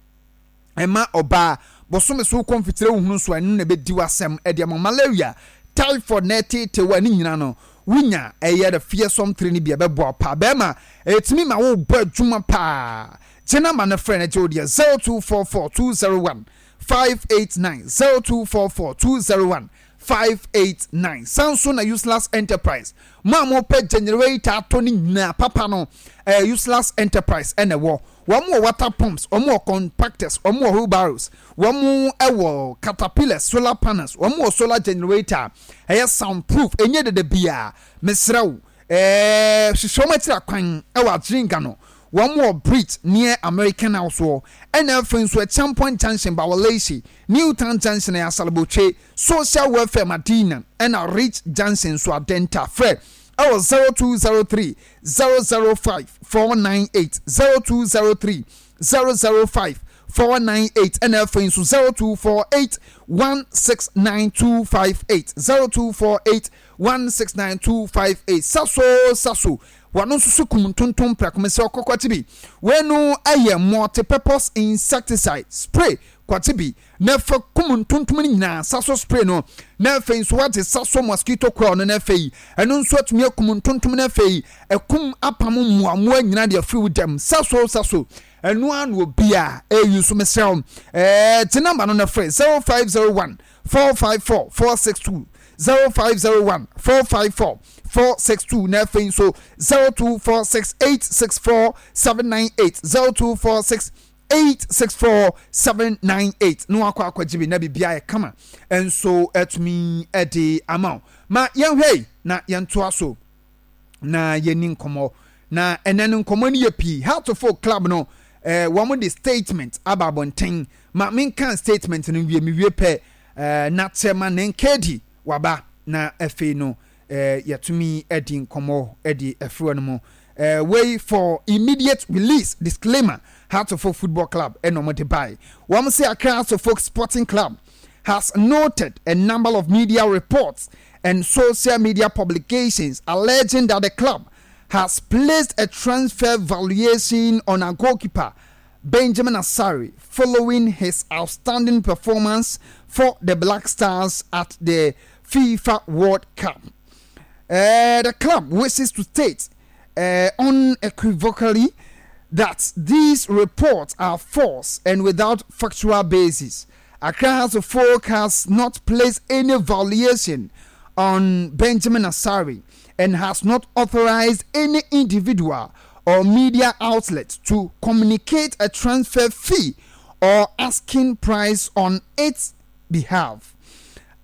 ɛma ɔbaa bosome so wokɔ mfitire wohunu nso a, ɛno na ɛbɛdi w'asɛm ɛde ama. Malaria, typhoid na ɛteetee wo a, ne nyina no wonya ɛyɛ The Fearsome 3 no bi a, ɛbɛboa wo paa. Bɛrima, ɛtumi ma wobɔ adwuma paa. Gye namba no frɛ no gye wo deɛ 0244 201 589, 0244 201 589. San so na Useless Enterprise, mo a mopɛ generator atɔ no nyinaa papa no, ɛyɛ Useless Enterprise ɛna ɛwɔ. Wɔn wɔ water pumps, wɔn wɔ compactors, wɔn wɔ wheelbarrows, wɔn wɔ caterpillars, solar panels, wɔn wɔ solar generator, ɛyɛ sound proof, ɛnyɛ dede biara. Mesrɛ wo, ɛɛ hwehwɛ wɔn akyiri akwan ɛwɔ Adringa no. Wɔn wɔ Bridge near American House hɔ, ɛna afei nso Acheampong Junction, Bawaleshie, New Town Junction ɛyɛ Asalabotwe, Social Welfare Madina ɛna Ridge Junction nso Adenta. Frɛ ɛwɔ 0203 005 498, 0203 005 498 ɛna afei nso 0248 169 258, 0248 169 258. Saso Saso Wɔno nso so kum ntontom prɛko. Mesrɛ wo kɔ kɔgye bi. Wei no yɛ multi-purpose insecticide spray. Kɔgye bi na fa kum ntontom no nyinaa. Saso spray no na afei nso woagye saso mosquito coil no na afei ɛno nso atumi akum ntontom no afei akum apam mmoammoa nyinaa de afiri wo dam. Saso saso ɛno ara na obiara ɛyi so. Mesrɛ wo ɛɛ gye namba no na frɛ 0501 454 462 0501 454 462 na afei nso 0246 864 798 0246 864 798 na wakɔ akɔgye bi na biribiara yɛ kama nso atumi de ama wo. Ma yɛnhwɛ yi na yɛntoa so na yɛni nkɔmmɔ na ɛnɛ no nkɔmmɔ no yɛ pii. Heartful Club no eh, wɔn de statement aba abɔnten. Ma menka statement no nwie, mewie pɛ eh, na kyɛ ma ne nkedi waba na afei no eh, yɛtumi adi nkɔmmɔ de afiri no mu. Eh, wei for immediate release disclaimer, Hearts of Oak Football Club ɛna wɔn de bae. Wɔn sɛ Accra Hearts of Oak Sporting Club has noted a number of media reports and social media publications alleging that the club has placed a transfer valuation on a goalkeeper Benjamin Asare following his outstanding performance for the Black Stars at the FIFA World Cup. The club wishes to state unequivocally that these reports are false and without factual basis. Accra House of Folk has not placed any valuation on Benjamin Asare and has not authorized any individual or media outlet to communicate a transfer fee or asking price on its behalf.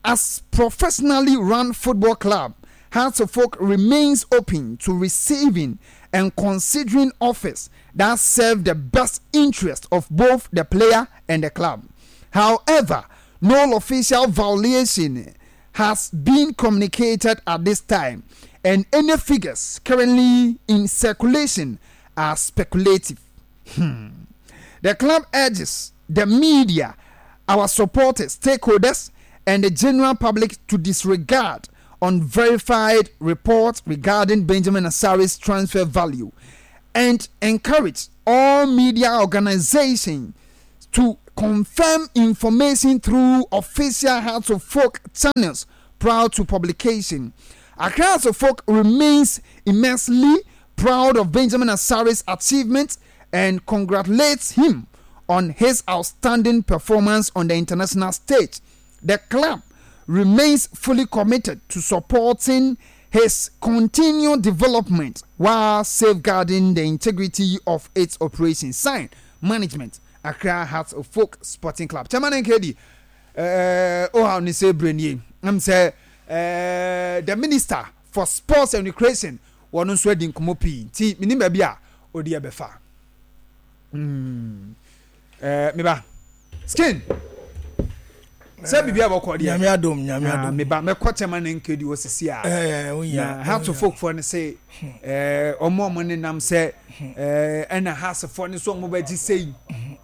As professionally run football club, Hearts of Oak remains open to receiving and considering offers that serve the best interest of both the player and the club. However, no official valuation has been communicated at this time, and any figures currently in circulation are speculative. The club urges the media, our supporters, stakeholders, and the general public to disregard unverified reports regarding Benjamin Asare's transfer value and encourage all media organizations to confirm information through official Hearts of Folk channels prior to publication. Accra Hearts of Folk remains immensely proud of Benjamin Asare's achievement and congratulates him on his outstanding performance on the international stage. The club remains fully committed to supporting his continued development while safeguarding the integrity of its operations. Signed, Management, Accra Hearts of Folk Sporting Club. Chairman NKD, oh, how ni say brenie. I'm say the Minister for Sports and Recreation, wɔn nso adi nkɔmmɔ pii nti menim baabi a ɔdi ɛbɛfa. Mm. Eh, meba. Skin. Sɛ biribi a bɔkɔ deɛ. Nyame adom, nyame ah, adom. Meba mɛkɔ kyɛma ne nkedi wɔ sisi a. Eh, eh, Na Hearts of Oak foɔ no se eh, ɔmo ɔmo nenam sɛ eh, ɛna Hearts foɔ no so ɔmo bɛgye sei,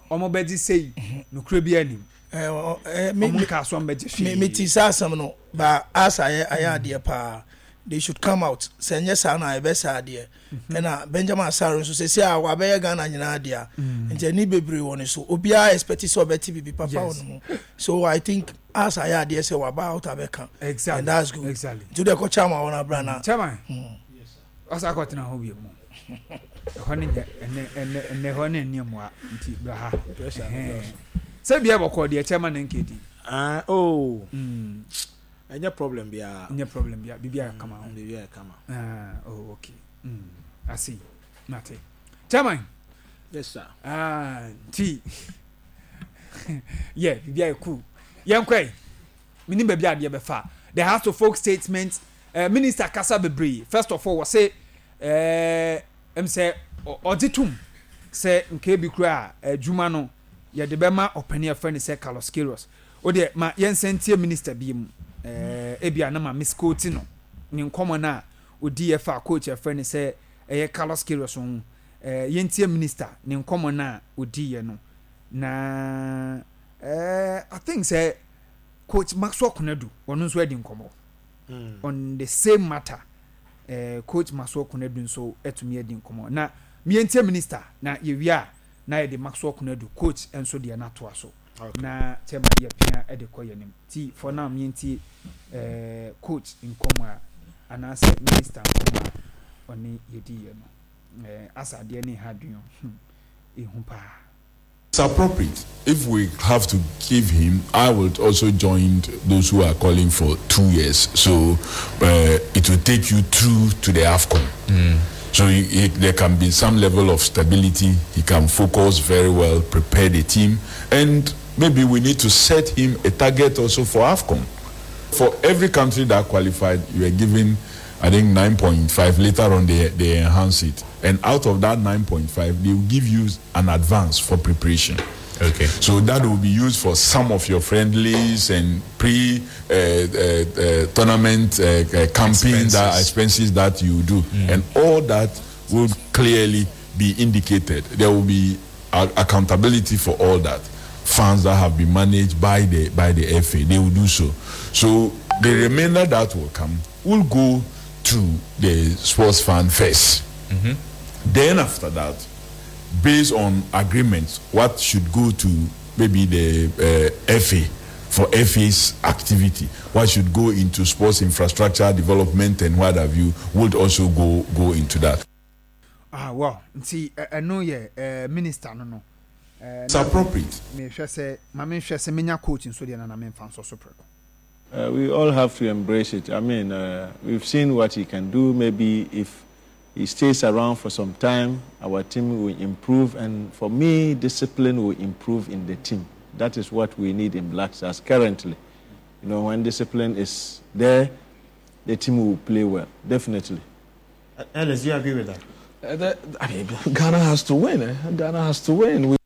ɔmo bɛgye sei. Nokorɛ bi anim. Eh, eh, ɔmo nkaa so ɔmo bɛgye hwee. Me ti saa asɛm no, ba asa ayɛ ayɛ adeɛ paa. They should come out. Sɛ nyɛ saa na ɛbɛ saa adeɛ. Mhm. Ɛna Benjamin Asare nso sɛsi a wabɛyɛ Ghana nyinaa dea. Mm. Nti ani bebree wɔ ne so. Obiara expect sɛ ɔbɛte biribi papa wɔ ne ho. So I think asa ayɛ adeɛ sɛ waba out abɛka. Exactly. And that's good. Exactly. Nti wode kɔ chairman wɔ no abra na. Chairman. Mm. Ɔsa akɔtena hɔ bio mu. Ɛhɔ ne nyɛ ɛnɛ ɛnɛ ɛnɛ hɔ ne nneɛ mmoa nti bra ha. Sɛ bia bɔkɔ deɛ chairman ne nkedi. Ah oh. Mm. Ɛnyɛ problem biara. Ɛnyɛ problem biara. Biribi ayɛ kama. Mm, biribi ayɛ kama. Ah, oh, okay. Mm, I see. Mate. Chairman. Yes, sir. Ah, nti. yeah, biribi ayɛ cool. Yɛn kɔ yi. Menim baabi adeɛ bɛfa. The House of Folk statement. Uh, minister kasa bebree. First of all, wɔse eh, ɛm sɛ ɔgye tom sɛ nka ebi kura adwuma no yɛde bɛma ɔpanin a yɛfrɛ no sɛ Carlos Queiroz. Wo deɛ ma yɛnsan ntie minister biom eh, ebia na ma misquote no, ne nkɔmmɔ no a ɔdiiɛ faa coach a yɛfrɛ no sɛ ɛyɛ Carlos Queiroz ho. Eh, yɛntie minister ne nkɔmmɔ no a ɔdiiɛ no. Na eh, I think sɛ coach Maxwell Konadu, ɔno nso adi nkɔmmɔ mm. on the same matter. Eh, coach Maxwell Konadu nso atumi adi nkɔmmɔ. Na yɛntie minister na yɛwie a na yɛde Maxwell Konadu coach nso deɛ no atoa so. Na kyɛ ma yɛ pia de kɔ yɛnim ti for now mientie eh, coach nkɔmɔ a anaasɛ minister nkɔmɔ a ɔne yɛdi yɛ no eh, asa adeɛ ne ha dwen hmm, ehu paa. It's appropriate if we have to give him I will also join those who are calling for two years so uh, it will take you through to the AFCON. Mm. So he, he, there can be some level of stability. He can focus very well, prepare the team, and maybe we need to set him a target also for AFCON. For every country that qualified, you are given, I think, 9.5. Later on, they, they enhance it. And out of that 9.5, they will give you an advance for preparation. Okay. So that will be used for some of your friendlies and pre uh, uh, uh, tournament uh, uh, camping expenses. that expenses that you do, mm. and all that will clearly be indicated. There will be accountability for all that. Funds that have been managed by the by the FA, they will do so. So the remainder that will come will go to the sports fund 1st mm-hmm. Then after that, based on agreements, what should go to maybe the uh, FA for FA's activity, what should go into sports infrastructure development and what have you, would also go go into that. Ah, well, nti ɛno yɛ eh, minister no no. Eh, It's appropriate. Mehwɛ sɛ ma menhwɛ sɛ menya coach nso deɛ na na memfa nsɔ so prɛko. Uh, we all have to embrace it. I mean, uh, we've seen what he can do. Maybe if he stays around for some time, our team will improve. And for me, discipline will improve in the team. That is what we need in Black Stars currently. You know, when discipline is there, the team will play well, definitely. Ellis, do you agree with that? Uh, that I mean, Ghana has to win. Eh? Ghana has to win. We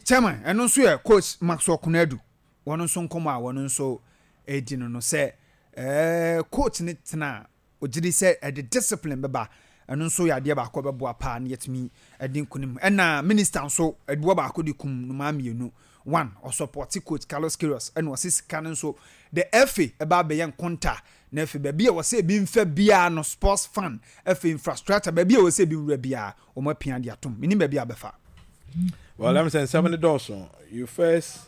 Chairman, ɛno nso yɛ coach Maxwell Konadu wɔn nso nkɔmɔ a wɔn nso redi no no sɛ ɛɛ coach ne tena a ogye di sɛ ɛde discipline bɛba ɛno nso yɛ adeɛ baako a ɛbɛboa paa na yɛatumi adi nkunim ɛna minister nso ɛboa baako de kum nnomaa mmienu one ɔsɔpɔte coach Carlos Queiroz ɛna ɔse sika no nso the FA ɛba abɛyɛ nkonta na afei baabi a wɔsɛ ebi mfa biara no sports fan afei infrastructure baabi a wɔsɛ ebi nwura biara wɔn apia de atom menim baabi a bɛfa. Well, let me say nsɛm no dɔɔso. You first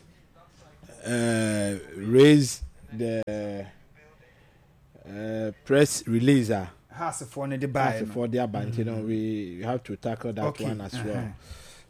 uh, raise the uh, press release a Haasfoɔ no de baeɛ no. Haasfoɔ de aba nti no we have to tackle that okay. one as well. Uh-huh.